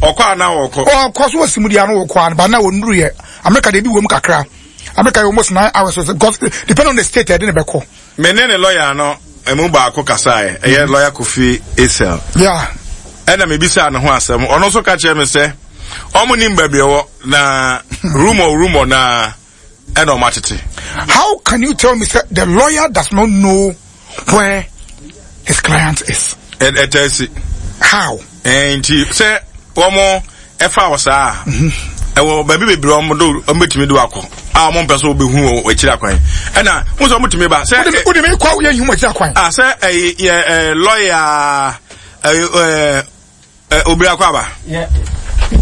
Ɔkɔ a na ɔkɔ. Ɔkɔ so wɔ simudi ano ɔkɔ ano ba na ɔnuru yɛ America de bi wɔ mu kakra. America yɛ almost 9 hours because depend on the state ɛde ne bɛkɔ. Me ne ne lawyer no emu baako kasaeɛ, ɛyɛ lawyer Kofi Esel. Ɛna mebisaa ne ho asɛm, ɔno nso ka kyerɛ me sɛ ɔmo nim baabi ɛwɔ na rumor rumor na ɛna ɔmo atete. How can you tell me sɛ the lawyer does not know where his client is? Ɛtɛ si. How? Nti sɛ wɔn ɛfa wɔ saa ɛwɔ baabi bebree wɔn do wɔn betumi do akɔ a wɔn mpɛ so wɔbɛhu wɔ akyiri akwan ɛna wɔn sɛ wɔn tumi ba sɛ. O de mi kɔ yɛ nhu akyiri akwan. A sɛ ɛyɛ yɛ ɛ lɔya ɛyɛ ɛ ɛ obiri akɔ aba.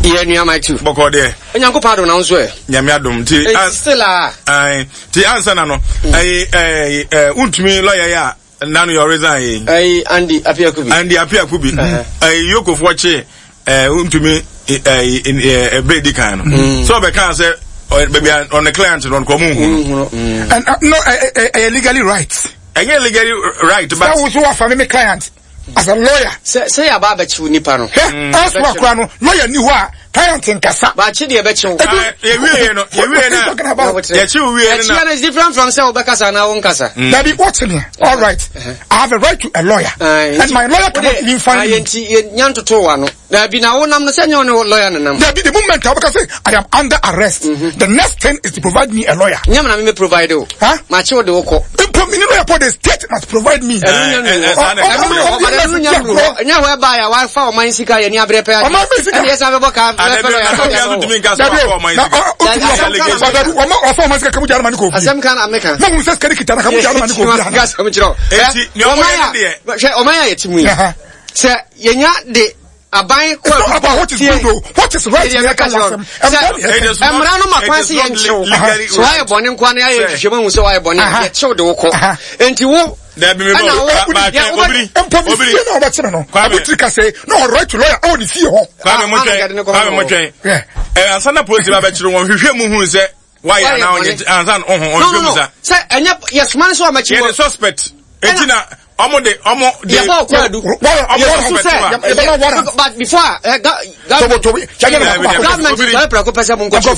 Yɛ nua my two. Bɔkɔ deɛ. Onyankopɔn adom na nso ɛ. Nyame adom ti. Still a. Ɛn ti ansa na no ɛyɛ ɛɛ ɛ ntumi lɔya yɛ a. Nanu yɛ ɔresign yi. Ɛyi Andy Appiah-Kubi. Andy Appiah-Kubi. Ɛyi Yokofoɔ kye ɛɛ ntumi ɛɛ ɛbere di kan no. Sɛ ɔbɛka sɛ baabi a ɔne client no ɔno ɔmo nhunu. And no ɛyɛ legally right. Ɛnyɛ legally right but. Sɛ woso wafa mi mi client as a lawyer. Sɛ sɛ yaba abɛkyew nipa no. Hɛ ɔso akora no lawyer ni hɔ a client nkasa. Baakye deɛ ɛbɛkyew. Yɛwie yɛ no yɛwie na yɛkyew wie no na. Ɛkyia no is different from sɛ wobɛkasa anaa wonkasa. Dabi wɔkye me all right I have a right to a lawyer and my lawyer cannot even find me. Nti yɛ ntoto wa no. Dabi na wonam no sɛ nyɛ ɔne lawyer no nam. Dabi the moment a wobɛka sɛ I am under arrest the next thing is to provide me a lawyer. Nyɛ na me me provide o. Makye wo de wo kɔ. Mpo me ne lawyer po the state must provide me. Ɛnyɛ hɔ ɛbaa yɛ wafa ɔman sika yɛ ni abrɛ pɛ adi. Ɔman mi sika. Ɛna yɛ san bɛbɔ kaa fɛ lawyer. Ɔfa ɔman sika kamu gya anamani kò fi. Asɛm kan ameka. Na hun sɛ sika ni kita na kamu gya anamani kò fi. Asɛm kyerɛ. Hwɛ ɔman a yɛte mu yi. Sɛ yɛnya de aban kɔ It's not about what is good o what is right yɛ ka wasɛm. Mmara no ma kwan sɛ yɛnkyew. Sɛ woayɛ bɔne nkoa no yɛayɛ nhwehwɛmu ahu sɛ woayɛ bɔne a yɛkyew de wo kɔ. Enti wo Dabi mi bɔ ba twɛn obiri. Mpo mi fie na ɔbɛkyerɛ no. Abotiri ka sɛ na ɔwɔ right to lawyer ɛwɔ ne fie hɔ. Kwame mo twɛn Kwame mo twɛn. Ɛ ansa na polisi ba bɛkyerɛ wɔn hwehwɛ mu hu sɛ wayɛ anaa ɔnyɛ ansa na ɔho ɔhwehwɛ mu sa. Sɛ ɛnyɛ yɛsoma no sɛ ɔmɛkyi wɔ. Yɛ de suspect eti na ɔmo de ɔmo de. Yɛbɔ ɔkɔ adu. Yɛsusu sɛ but before a government sɔrɔ prɛko pɛ sɛ mo nkɔ kyerɛ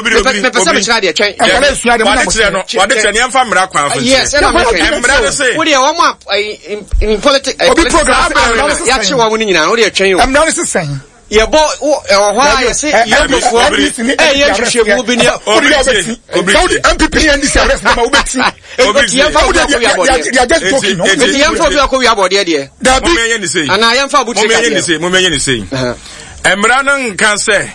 bi mepɛ sɛ mekyerɛ adeɛ twɛn. Wade kyerɛ no wade kyerɛ no yɛmfa mmara kwan so yes ɛna mehwɛ mmara no se. Wo deɛ wɔn a in politics obi program yɛakye wɔn no nyinaa wo deɛ twɛn o. Mmara no se sɛn. Yɛbɔ ɛwɔ hɔ a yɛse yɛnkofoɔ ɛyɛ nhwehwɛmu bi ne Saudi MPP ne NDC arrest na ma wobɛti. Eti yɛmfa obi akɔ wia bɔdeɛ. They are just joking. Eti yɛmfa obi akɔ wia bɔdeɛ deɛ. Dabi. Anaa yɛmfa abotire kadeɛ. Momɛnyɛ ne sei. Mmara no nka sɛ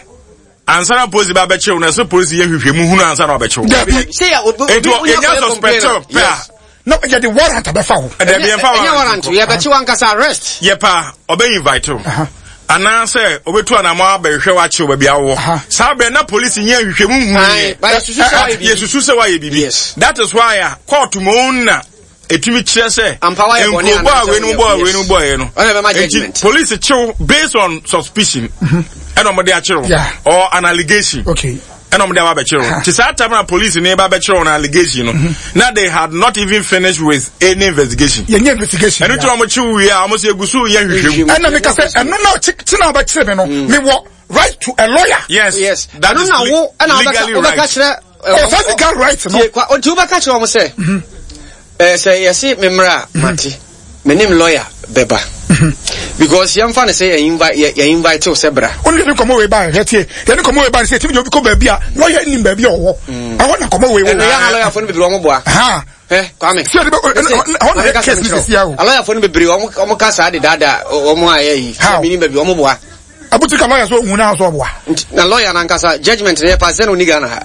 ansa na polisi ba bɛkyew no ɛsɛ polisi yɛ nhwehwɛmu hunu ansa na ɔbɛkyew. Dabi. Eti yɛnya suspect pɛ a. Na yɛde warrant abɛfa wo. Dabi yɛmfa warrant. Ɛnyɛ warrant yɛbɛkye wankasa arrest. Yɛ pa ɔbɛ invite wo. Anaasɛ obetu anamɔ abɛhwehwɛ wakyew baabi awɔ. Saa bɛn na polisi nyɛ nhwehwɛmu nhunu yɛ. Yɛsusu sɛ wayɛ biribi. That is why a court mu na etumi kyerɛ sɛ nkurobɔ a wei no bɔ a wei no bɔ yɛ no. Eti polisi kyew based on suspicion ɛna wɔde akyew or an allegation. Okay. Ɛna wɔde aba abɛkyerɛ wo. Te saa time na police ne ba bɛkyerɛ wɔn allegation no, na they had not even finished with any investigation. Yɛnyɛ investigation. Ɛno ti wɔn kye wie a wɔn sɛ egu so yɛ nhwehwɛ mu. Ɛna mi ka sɛ ɛno na kye na ɔbɛkyerɛ mi no, mi wɔ right to a lawyer. Yes. Yes. That is na wo ɛna legally right. wobɛka kyerɛ. Ɔsɛ legal right no. Nti wobɛka kyerɛ wɔn sɛ. Sɛ yɛse me mmra a, mate. Menim lawyer bɛba. Because yɛmfa no sɛ yɛ invite wo sɛ bra. Wone yɛne nkɔmmɔ wei baɛ, hwɛ tie. Yɛne nkɔmmɔ wei baɛ sɛ yɛtumi de obi kɔ baabi a lawyer nnim baabi a ɔwɔ. Ɛhɔ na nkɔmmɔ wei wɔ. Ɛno yɛ ha lawyerfoɔ no bebree wɔn boa. Hɛ, Kwame. Sɛ yɛde bɛ, ɛhɔ na yɛ case no sisi o. Lawyerfoɔ no bebree wɔn ka saa de daadaa wɔn a yɛ yi. How? Menim baabi wɔn boa. Abutu ka lawyer so ohun na so ɔboa. Na lawyer nankasa judgement no yɛ pass sɛ na ɔni Ghana ha.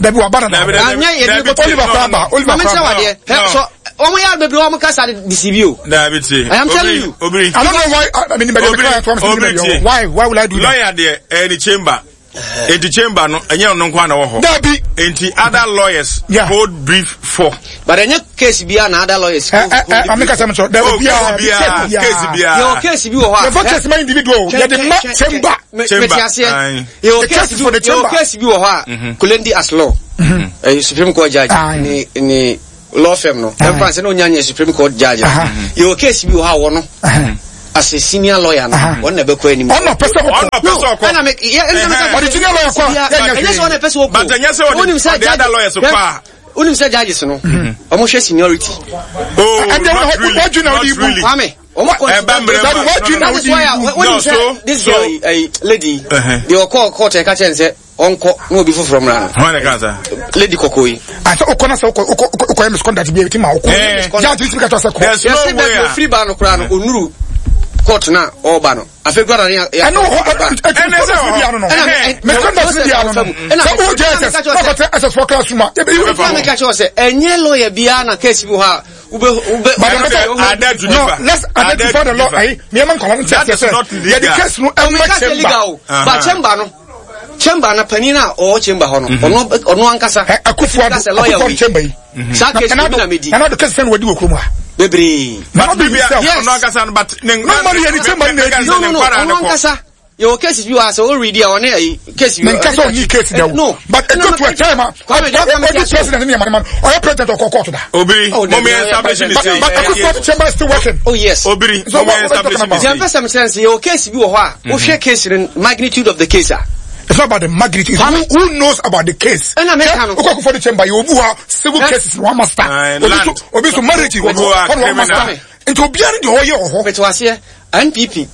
Dabi wa ba dada. Anyɛ yɛ de kɔ Oliver kɔ aba. Oliver kɔ aba. Adeɛ. Hɛ so wɔn yɛ bebree wɔn kasa de deceive you. Dabi tie. I am telling you. Obiri. I don't know why. I mean, but client Obiri tie. Why would I do that? Lawyer deɛ ɛyɛ ne chamber. Enti chamber no ɛnyɛ ɔno nko na wɔ hɔ. Dabi. Enti other lawyers yeah. hold brief for. But ɛnyɛ case bi a na other lawyers. Ɛ ɛ ɛ maame kasa mi sɔ. Dabi biara case biara. Yɛ wɔ case bi wɔ hɔ a. Yɛ fɔ case ma individual. Yɛ de ma chamber. Chamber. Mɛ ti aseɛ. Yɛwɔ case bi yɛwɔ case bi wɔ hɔ a mhm. Kulendi as law mhm. ɛyɛ Supreme Court judge ne ne law firm no ɛnfa sɛ na onya nyɛ Supreme Court judge yɛwɔ case bi wɔ hɔ a wɔ no. As a senior lawyer no, ɔno na ɛbɛkɔ anim. Ɔno pɛ sɛ ɔkɔ. Ɔno pɛ sɛ ɔkɔ. Ɛna me yɛ ɛna me ka. Ɔde senior lawyer kɔ a, yɛ nyɛ hwee. Ɛnyɛ sɛ ɔno pɛ sɛ ɔkɔ. But ɛnyɛ sɛ ɔde ɔde other lawyers kɔ a. Wonim sɛ judges no, ɔmo hwɛ seniority. Oh, not really. Not really. Kwame, ɔmo kɔ. Ɛba mmerɛ mu. That is why wonim sɛ this girl, lady, deɛ ɔkɔɔ court ɛka kyɛn sɛ ɔnkɔ na obi foforɔ mmra no. Hwan na ɛka saa? Lady kɔkɔɔ yi. Asɛ wokɔ na sɛ wokɔ wokɔ wokɔyɛ misconduct bi a ɛti ma wokɔ. Judge bi tumi ka kyerɛ sɛ kɔ. There's no Yɛsɛ way baabi a. ofiri ba no koraa no onuru court na ɔreba no. Afei koraa na ne yɛ. Ɛno wɔ hɔ ɛtumi Ɛnɛ sɛ process wɔ ni hɔ. bi ano no. Ɛna Misconduct ni bi ano no. Ɛna Sɛ wo JSS na ɔkɔtɛ SS fɔ classroom a ebe yi Ɛna meka kyerɛ wo sɛ ɛnyɛ lawyer biara na case bi wɔ hɔ a wobɛ wobɛ. But Ɛno the deɛ, ada to no, differ. let's Ada identify to the law. differ. Ayi, nneɛma nkɔla no That kyerɛ is sɛ not legal. yɛde case no ɛma Ɔmeka sɛ chamber. legal o. Ba chamber no chamber na panin a ɔwɔ chamber hɔ no ɔno ɔno ankasa. Ɛ Akufo Addo Sɛ lawyer Akufo Addo wei. chamber yi. Saa case no bi na medi. Nana Addo case sɛ na wadi wɔ kurom ha. Bebree. Nana Addo Bibia himself. Yes. ɔno ankasa no but ne No money yɛ ne chamber no na edi. No no no ɔno ankasa yɛwɔ cases bi wɔ ha sɛ o read a ɔne ayi case bi. Me nka sɛ ɔnni case da o. No. But it got to a time a Kwame, deɛ ɔka me ɔdi ti ase o. president ne yamane ma no ɔyɛ president ɔkɔ court da. Obiri, Oh, mo Dabi, mi establish ne But sei. but Akufo Addo chamber is still working. Oh yes. Obiri, So mo mi what- what are you establish talking ne about? Deɛ mpɛ sei. sɛ mekyerɛ no sɛ yɛwɔ case bi wɔ hɔ a wohwɛ case no magnitude of the case a It's not about the magnitude. It's who, who knows about the case. Ɛna meka no. Okɔ Akufo Addo chamber yɛ obi wa civil Eh? cases one master. Aye, Obi land. so obi so marriage Obi wa ɔno one criminal. master. Nti obiara ne deɛ ɔyɛ wɔ hɔ. mete waseɛ NPP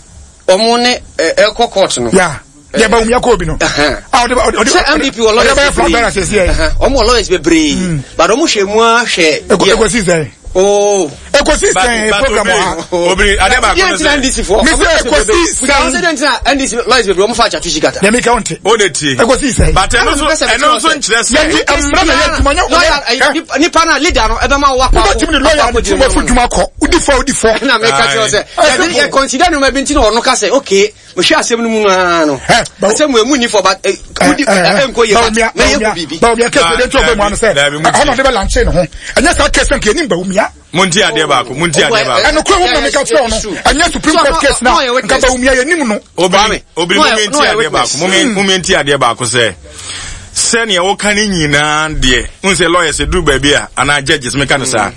ɔmo ne ɛkɔ court no. Yeah. Deɛ ba omi akɔ obi no. Ɛhɛn. Ah, ɔde ɔde sɛ NPP wɔ ɔde lawyers bɛyɛ flag bearer bebree sɛsi yɛ. Ɛhɛn. ɔmo wɔ lawyers bebree but ɔmo hwɛ mu a hwɛ Eko ekosi sɛn. oh Ekosi But sɛn but program wɔ ha. Obiri, Obiri, ade baako deɛ ne nti na sɛ. NDC foɔ Me sɛ ekosi sɛ sɛn. deɛ nti na NDC lawyers bebree ɔmo fa akyatu sikata Deɛ mi ka ɔnte. O de tie. Ekosi sɛn. But ɛno Ɛna nso mepɛ sɛ ɛno mekyerɛ nso wo sɛ- nkyerɛ Yɛn ni sɛ. mmara na yɛ adwuma nyɛ lawyer ayi, nipa na leader no ɛbɛma wo wakɔ Wobɛtumi ne lawyer ne tirim afu dwuma kɔ. Wodi fɔ wodi fɔ. ɛna meka kyerɛ wo sɛ Aye. yɛde yɛ consider nneɛma bi nti na ɔno ka sɛ okay mehwɛ asɛm no mu no ara no Eh, but- asɛm wɔ emu ni fɔ but eh, wodi ɛnkɔ yie but mɛyɛ hu biribi Bawumia case de nti ɔbɛ mu ano sɛ Dabi, mu ɛhɔ na ɔde bɛ lanche ne ho. Ɛnyɛ saa case nka yɛnim Bawumia. Monti adeɛ baako, monti adeɛ baako. Ɛno kura wɔn na meka kyerɛ wo no. Ɛnyɛ Supreme Court case na nka Bawumia yɛnim no. Obiri, obiri, No, mo mi no, nti adeɛ witness. baako, mo mi mo mi nti adeɛ baako sɛ sɛnea wɔka ne nyinaa deɛ n sɛ lawyers duru baabi a anaa judges meka no saa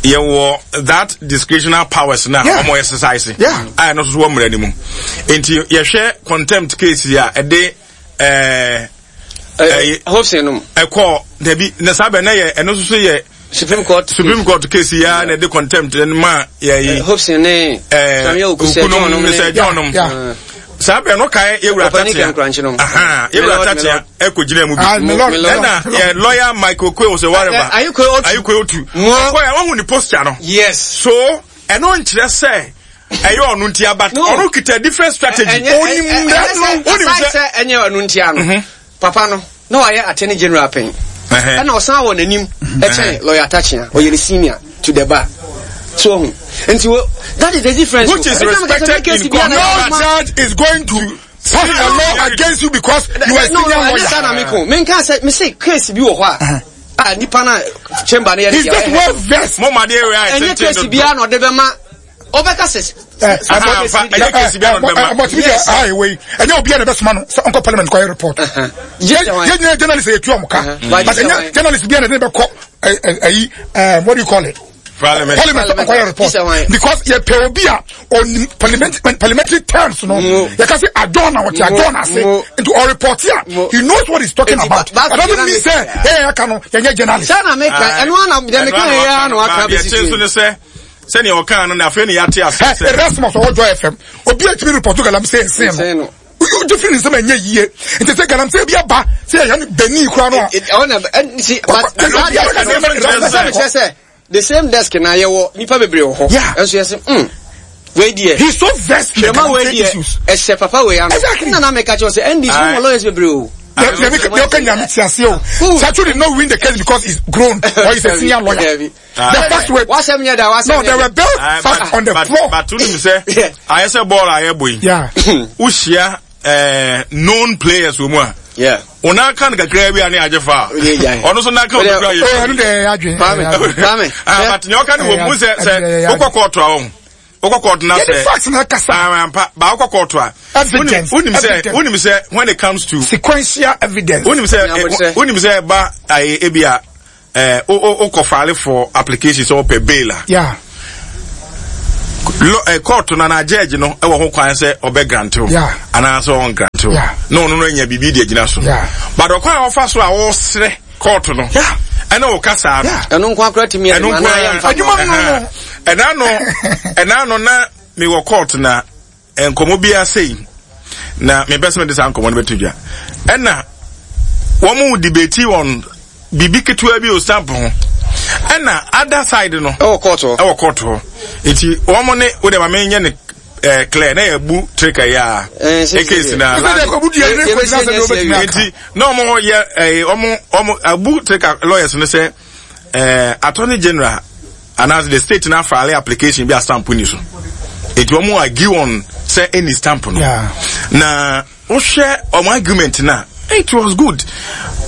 yɛwɔ that discretional powers na Yeah. wɔn exercise Yeah. a ɛno nso so wɔ mmara no mu nti yɛhwɛ contempt case yi a ɛde ɛɛ ɛyi Hobson nom ɛkɔ dabi na saa bɛ na yɛ ɛno nso so yɛ Supreme Court Supreme Court case yi a na ɛde contempt ɛno ma yɛ yi. Hobson ne Samuel Oku Sir John nom okunom ne sɛ John nom Yeah. saa bɛn no kae yɛwura Ɔpanin tatea Kɛnkrankye nom. Aha, yɛwura Milord, tatea Milord. ɛkɔ gyina mu bi Ah, Milord, Milord. ɛna yɛ lawyer Michael Kwe sɛ whatever Eh, Ayikwe Otu. Ayikwe Otu Mo. ɔkɔ yɛ ɔhu ne posture no yes so ɛno nkyerɛ sɛ ɛyɛ ɔno ntia but No. ɔno kita different strategy Ɛnyɛ- onim ɛ- ɛ- mmara ɛnyɛ no sɛ- onim aside sɛ sɛ ɛnyɛ ɔno ntia no papa no na wayɛ attorney general pɛn Ɛhɛ. ɛna ɔsan wɔ n'anim ɛkyɛn lawyer Atakyea ɔyɛ ne senior to the bar so ɔho nti wo that is the difference Which is o. Ɛna meka sɛ respected case in biara court. na No yɛ- judge is going to pass a law against you because you are a no senior no ɛnyɛ saa na lawyer. meko menka sɛ mese case bi wɔ hɔ a a nipa na chamber no yɛ ne He's deɛ just ɔyɛ well versed. mo ma deɛ wei ayɛ ɛnyɛ tenten case dodo biara na ɔde bɛma ɔbɛka sɛ Eh, Aha, mfa, ɛnyɛ case biara na ɔde bɛma. But yes. Ah, wei. Ɛnyɛ obiara na ɛbɛsoma no sɛ ɔnkɔ parliament kɔyɛ report. Gye sɛ wan- Yɛn nyinaa journalist yɛ tu ɔmo ka. But But gye sɛ ɛnyɛ wan- journalist biara na ɛde bɛkɔ ɛyi what do you call it? Parliament. Parliament sɛ ɔnkɔyɛ report. Gye sɛ wan- Because yɛpɛ obi a ɔnim parliament parliamentary terms no. Mo. Yɛka sɛ adjourn na wɔte Mo. adjourn ase. Mo. Nti ɔreport a Mo. he knows what he's talking Enti about. ba- That doesn't mean sɛ yɛn yɛn aka no yɛnyɛ journalist. saa na meka ɛno ana deɛ meka yɛ ara na waka Deɛ bɛsi kyɛn so so ne sɛ sɛnea ɔkaa no na afei ne yɛate ase Ɛ sɛ Erasmus ɔwɔ Joy FM obi a tumi report galamsey nsen Nsen no. no. Wogye firi ne nsɛm a ɛnyɛ yie nti sɛ galamsey bi aba sɛ yɛyɛ no bani koraa no a ɛhɔ na nti but Ɔkɔ- saa desk no Ɛno sɛ mekyerɛ sɛ the same desk na yɛwɔ nipa bebree wɔ hɔ Yeah. ɛnso yɛsɛ mm wei deɛ he's so versed in the twɛma wei galamsey deɛ issues. ɛhyɛ papa wei ano Exactly. na na meka kyerɛ sɛ NDC Aye. mo wɔ lawyers bebree o Deɛ deɛ ɔka nyame te ase o. Chachu did not win the case because he's grown or he's a senior lawyer. Dabi. The facts were wasɛm nyɛ da wasɛm no nyɛ there da were bare Aye, facts on the but, floor. But wonim sɛ ayɛ sɛ bɔɔl a yɛbɔ yi Yeah. wohyia known players wɔ mu a yeah wo nan ka no kakraa bi a ne agye fa a Wode agyae. ɔno nso nan ka Wode- kakraa Oh, yɛ ɛno deɛ ɛyɛ adwene. Kwame, ɛyɛ adwene. Kwame, Ah, but nea ɔka no wɔ mu sɛ sɛ wokɔ kɔɔto a wɔn wokɔ kɔɔto na Yɛde sɛ facts na ɛkasa. Ah, ampa ba wokɔ kɔɔto a Evidence, wonim sɛ evidence. wonim sɛ when it comes to Sequential evidence. wonim sɛ Nea wɔkyerɛ. wonim sɛ ɛba ayɛ ebi a ɛɛ wokɔ file for application sɛ wɔpɛ bail a Yeah. Court no anaa judge no wɔ ho kwan sɛ ɔbɛ grant wo anaasɛ ɔn grant wo na ɔno no anya biribi de agyina so. But ɔkwan a ɔfa so a ɔsrɛ court no ɛne wo kasaa no. Ɛno nko akora tumi ɛno nko adwuma no no. Ɛna no ɛna no na mewɔ court na nkɔmmɔ biara sei na mepɛ sɛ mede saa nkɔmmɔ no bɛto dwa. Ɛna wɔn mu debate on biribi ketewa bi o stamp ho. Ɛna other side no. Ɛwɔ court hɔ. Ɛwɔ court hɔ. Nti wɔn ne wo de ma menyɛ ne eh, clear na yɛ bu trika yi a. Ekesi na nti na wɔn yɛ ɛɛ wɔn wɔn abu trika lawyers no sɛ ɛɛ attorney general anaasɛ the state na file application bi a stamp ni so. Nti wɔn argue on sɛ ɛni stamp no. Na wohwɛ wɔn argument na it was good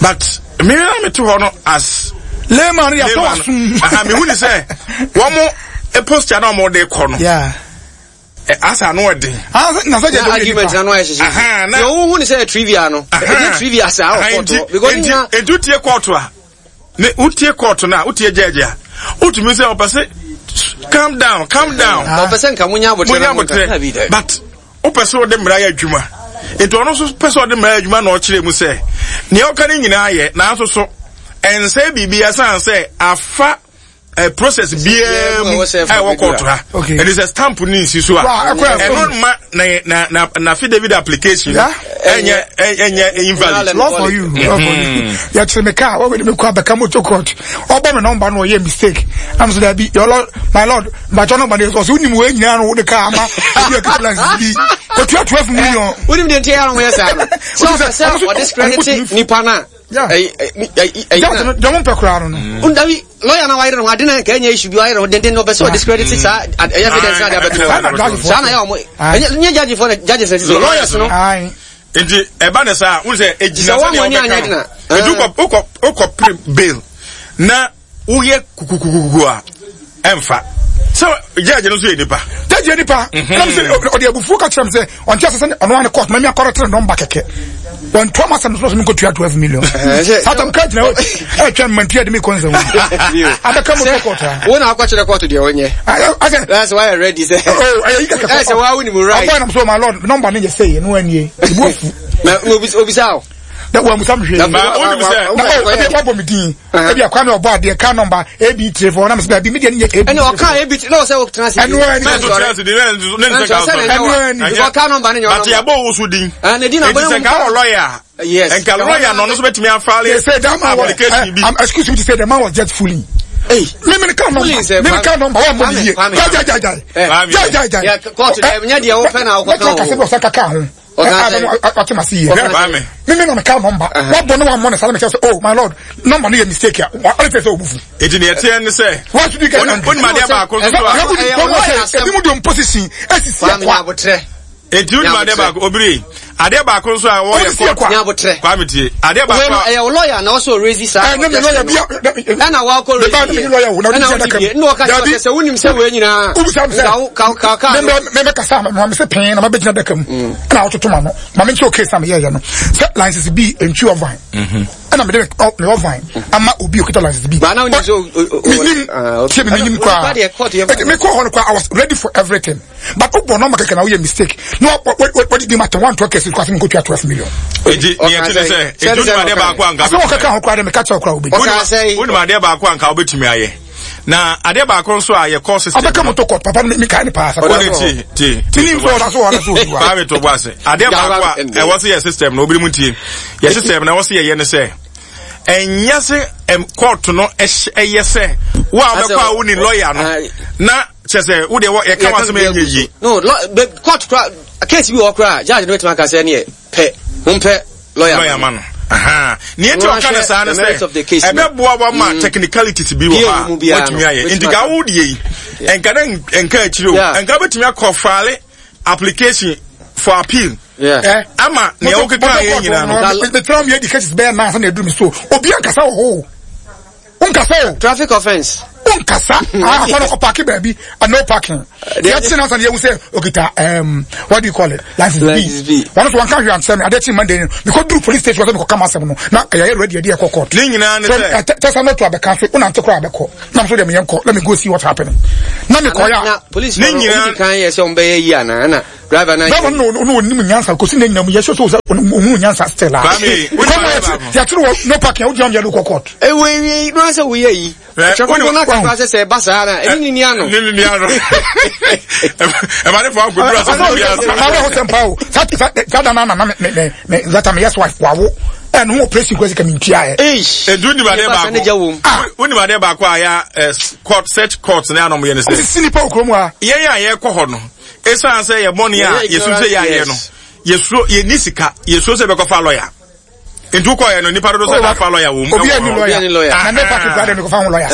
but me na me te hɔ no as layman yɛ sɔ wasum. Aha mehu ni sɛ wɔn posture na wɔn de kɔ no. Yeah. Asa ano ɔden. Na sɛ jɛ argument na no ayɛ hyehyɛ. Yɛ wo hu ni sɛ trivia no. Ɛnyɛ trivia saa wɔ court hɔ because nti nti wotie court a ne wotie court no a wotie judge a wotumi sɛ ɔpɛ sɛ calm down calm down. Ɔpɛ sɛ nka munya abotrɛ munya abotrɛ but wopɛ sɛ wode mmara yɛ adwuma nti ɔno nso pɛ sɛ ɔde mmara yɛ adwuma na ɔkyerɛ mu sɛ nea ɔka no nyinaa yɛ nanso so ɛnsɛ biribi ɛsan sɛ afa eh, process biara mu a ɛwɔ kɔɔto ha ɛne sɛ stamp ne nsi so a ɛno ma na na na na affidavit application ɛnyɛ ɛnyɛ invalid. law for you law for you yɛkyerɛ me kaa wɔwɛde me kɔ abɛka motor court ɔbɔ me nɔmba no ɔyɛ mistake am so dabi your lord my lord mbakyɛ nɔmba no ɔsɛ wonim wei nyinaa no wode kaa ama obi a kɛpla bi kɔtua 12 million. Wonim deɛ nti ɛyɛ a wɔyɛ saa no sɛ ɔpɛ sɛ ɔdiscredit nipa no a judge no mpɛ koraa no no. Ndabi lawyer na wayere no ho ade na nka ɛnyɛ issue bi wayere ho denden na ɔpɛ sɛ ɔdiscredit saa ɛyɛ evidence na ade abɛto saa na yɛ ɔmo ɛnyɛ judge fo na judges na sisi lawyers no. Nti ɛba ne saa n sɛ egyina sɛ deɛ ɔbɛka no nti wokɔ wokɔ pere bail na woyɛ kukukukuku a ɛnfa sɛ judge no nso yɛ nipa. Judge yɛ nipa ɛna mi sɛ ɔde abufuo ka kyerɛ mi sɛ ɔnte ase sɛ ɔno ane court mɛmi akɔrɔ tere nɔmba kɛkɛ wɔn to ama sɛm so mi nkotua 12 million. Satam ka gyina hɔ ɛtwɛn mmantua de mi kɔ nsɛm abɛka mu kɔ court ha. Wo na akɔkyerɛ court deɛ ɔnyɛ. Asɛ ɛsɛ wayɛ ready sɛ. Oh ɛyɛ yi kɛkɛ. Ɛsɛ wa wo ni mu right. Ɔbɔ ɛnam so my lord nɔmba ne yɛ sɛ yɛ no anie ebu afu. Na obisa o. Na wɔn musa mi hwee. Na wonim sɛ. Na ɔ ebi wabɔ mi din. Ebi akwa mi ɔbɔ adeɛ kaa nɔmba AB 34 na mi sɛ dabi mi deɛ ne yɛ AB. Ɛna ɔka AB na ɔsɛ ɔtena ase. Ɛnu ɛni. Mɛ nso tena ase di ne ne nsɛ ka sɔ. Ɛnu ɛni. Because kaa nɔmba ne nyɛ ɔnɔmba. But yɛ bɔ wosu din. Ne din na bɔ ne mu. Nti sɛ kaa wɔ lɔya. Yes. Nka lɔya na ɔno nso bɛtumi afile application bi. Excuse me to say the man was just fooling. Hey. Me me car number. Me me car number. Wa mo ni ye. Ja ja ja ja. Ja ja ja. Yeah, court. Nya deɛ wo pɛ na wokɔ kan o. Mɛtɔ kasa bi ɔsɛ kaka ho. Ɔte ma se yie. Me me na me car number. Wabɔ ne wammɔ ne saa na mekyerɛ sɛ oh my lord number no yɛ mistake a ɔde sɛ sɛ ɔbufu. Eti deɛ ɛteɛ ne sɛ. Why should you get angry? Wonim adeɛ baako nso so a. Ebi mu de position esisi akwa. Eti wonim adeɛ baako obiri adeɛ baako nso a wɔyɛ kɔ. Nyabotrɛ. Kwame tie adeɛ baako a. Ɛyɛ wo lawyer na ɔsɔ raise saa. Ɛne me lawyer bi. Ɛna wakɔ raise yɛ. Ɛna wodi bie. Ɛna ɔka kyerɛ sɛ wonim sɛ wei nyinaa. Wobisa mi sɛ. Ka ka ka. Mɛ mɛ kasa ma me sɛ pɛn na ma bɛ gyina daka mu. Ɛna ɔtoto ma no. Ma me nkyɛn case a me yɛyɛ no. Sɛ license bi ntwi ɔvan. Ɛna me de me ɔvan ama obi okita license bi. Ba na wonim sɛ. Menim tie me menim koraa. Ɛti me kɔ hɔ no koraa I was ready for everything. But wobɔ nɔmba kɛkɛ na woyɛ mistake na wɔde di ma tɛn wantoa kɛse kɔ asɛm nkɔtua 12 million. Eti deɛ ɛte ne sɛ eti wonim adeɛ baako anka. Asɛm ɔkaka ho koraa de meka kyerɛ koraa wobɛdi. Wonim adeɛ baako anka wobɛtumi ayɛ. Na adeɛ baako nso a yɛkɔ system. Ɔbɛka moto kɔ papa no mekae ne paa. Wode ti ti ti. Menim sɛ ɔda so ɔda so ɔdi wa. Kwame to bo ase. Adeɛ baako a ɛwɔ sɛ yɛ system no obiri mu tie. Yɛ system no ɛwɔ sɛ yɛyɛ ne sɛ ɛnyɛ sɛ court no ɛyɛ sɛ wo a wobɛkɔ a wo ni lawyer no na kyɛ sɛ wo deɛ yɛka w'asɛm ɛnyɛ yie. No, court kora case bi wɔ kora judge no bɛtumi aka sɛ neɛ pɛ mompɛ lawyer lawyer ma no. Nea nti ɔka no saa no sɛ ɛbɛboa wa ma technicalities bi wɔ hɔ a watumi ayɛ nti ka wo deɛ yi ɛnka na nka akyire o ɛnka bɛtumi akɔ file application for appeal ama nea wokeka yɛ nyinaa no. Metena mi adi cases bɛyɛ nan sɛ na ɛduru mi so obi ankasa wɔ hɔ o. Wonkasa o. Traffic offence. Wonkasa. Akɔ no kɔ park baabi, no parking. Yɛkye no ansa na yɛhu sɛ okita what do you call it? License B. Wɔn nso wɔnka hwee ankyerɛ me. Adeɛ kye Monday no, mekɔduru police station sɛ mekɔka m'asɛm no, na yɛayɛ ready yɛde yɛkɔ court. Ne nyinaa ne sɛ. Tɛsa no to abɛka so, wonante koraa abɛkɔ. Na nso deɛ meyɛ nkɔ, let me go see what's happening. Na mekɔyɛ a. Na police no, wɔn di kan yɛ sɛ wɔn bɛyɛ yi anaa na driver na. Driver no no onim nyansa kosi ne nyinam yɛ sɛ sɛ ohun nyansa still a. Kwame, yɛkyerɛ wɔ no parking a wogyina wɔn yɛ de kɔ court. Ewe ewie no asɛ woyɛ yi. Twɛkɔkɔ na kasa sɛ sɛ ɛba saa na ɛne ne ni ano. Ne ne ni ano. Ɛma ne fa akoduru asɛ sɛ bi ase. Maa bɛ ho sɛm paa o. Sa sa sa da na na me me me zata me yes wife wawo. Ɛno ho operation kwasi ka me ntua ɛ. Edu ni baade baako. Wo ni baade baako a ya court search court ne anom yɛ ne sɛ. Sisi nipa okuro mu a. Yɛn a yɛkɔ hɔ no. Esan sɛ yɛ bɔne a yɛsu sɛ yɛayɛ no. Yɛsuro yɛni sika yɛsuro sɛ bɛkɔfa lawyer. Nti wokɔ yɛ no nipa dodo sɛ dafa lawyer wɔ mu. Obi ani lawyer. Na no parking kura de mi kɔfa ho lawyer.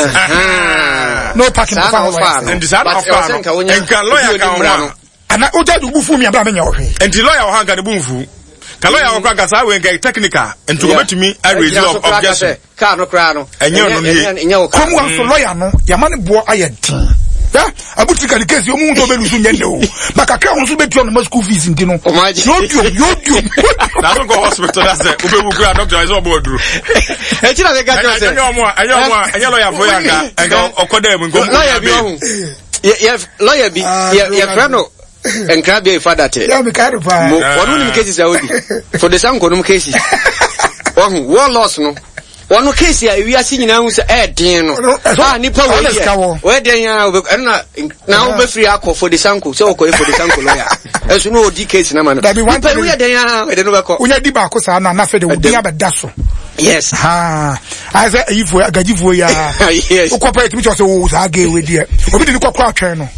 No parking kɔfa ho lawyer. Nti saa na ɔfa no nka lawyer ka ho a. Ana o judge bu fu mi abira mi nya ɔhwɛ. Nti lawyer wɔ ha nka ne bu nfu. Ka lawyer wɔ kora nka saa wei nka technical nti wɔbɛtumi arrange objection. Kaa no koraa no. Ɛnyɛ ɔno nie. Ɛnyɛ wo kaa. Kurom wa nso lɔya no yama ne boɔ ayɛ den. Ya abutiri ka ne case ɔmu nso ɔbɛ lusu nyɛ nnɛ o. Ba kakra wɔn nso bɛ tua ɔmo school fees nti no. Yodiom yodiom. Na so kɔ hospital na sɛ wobɛwu kura doctor ɛsɛ ɔbɔ aduro. Ɛkyi na meka kyerɛ sɛ. Ɛnyɛ ɔmo a ɛnyɛ ɔmo a ɛnyɛ lɔya fo yɛ anka ɛnka ɔkɔ dɛ mu nkɔmu. Lɔya bi ɔho. Yɛ lɔya bi yɛfrɛ no. Nkra bia ifa date. Yeah, me kind of pa. Mo wɔn nim cases a odi. For the some konum cases. Wɔn war loss no. Wɔn case a ewiase nyinaa hu sɛ ɛɛden no. Ah nipa wɔ yɛ. Wɔyɛ den ya obe ɛno na na wobɛfiri akɔ for the sanko sɛ wɔkɔ for the sanko lawyer. Ɛso no odi case na ma no. Nipa wuyɛ den ya ɛde no bɛkɔ. Wonya di baako saa na na afei de wo din abɛda so. Yes. Ha. Ayɛ sɛ ayifoɔ agagyifoɔ yi ara. Yes. Wokɔ pɛ yɛtumi kyerɛ sɛ wo saa gay wei deɛ. Obi de ne kɔ kora atwɛn no.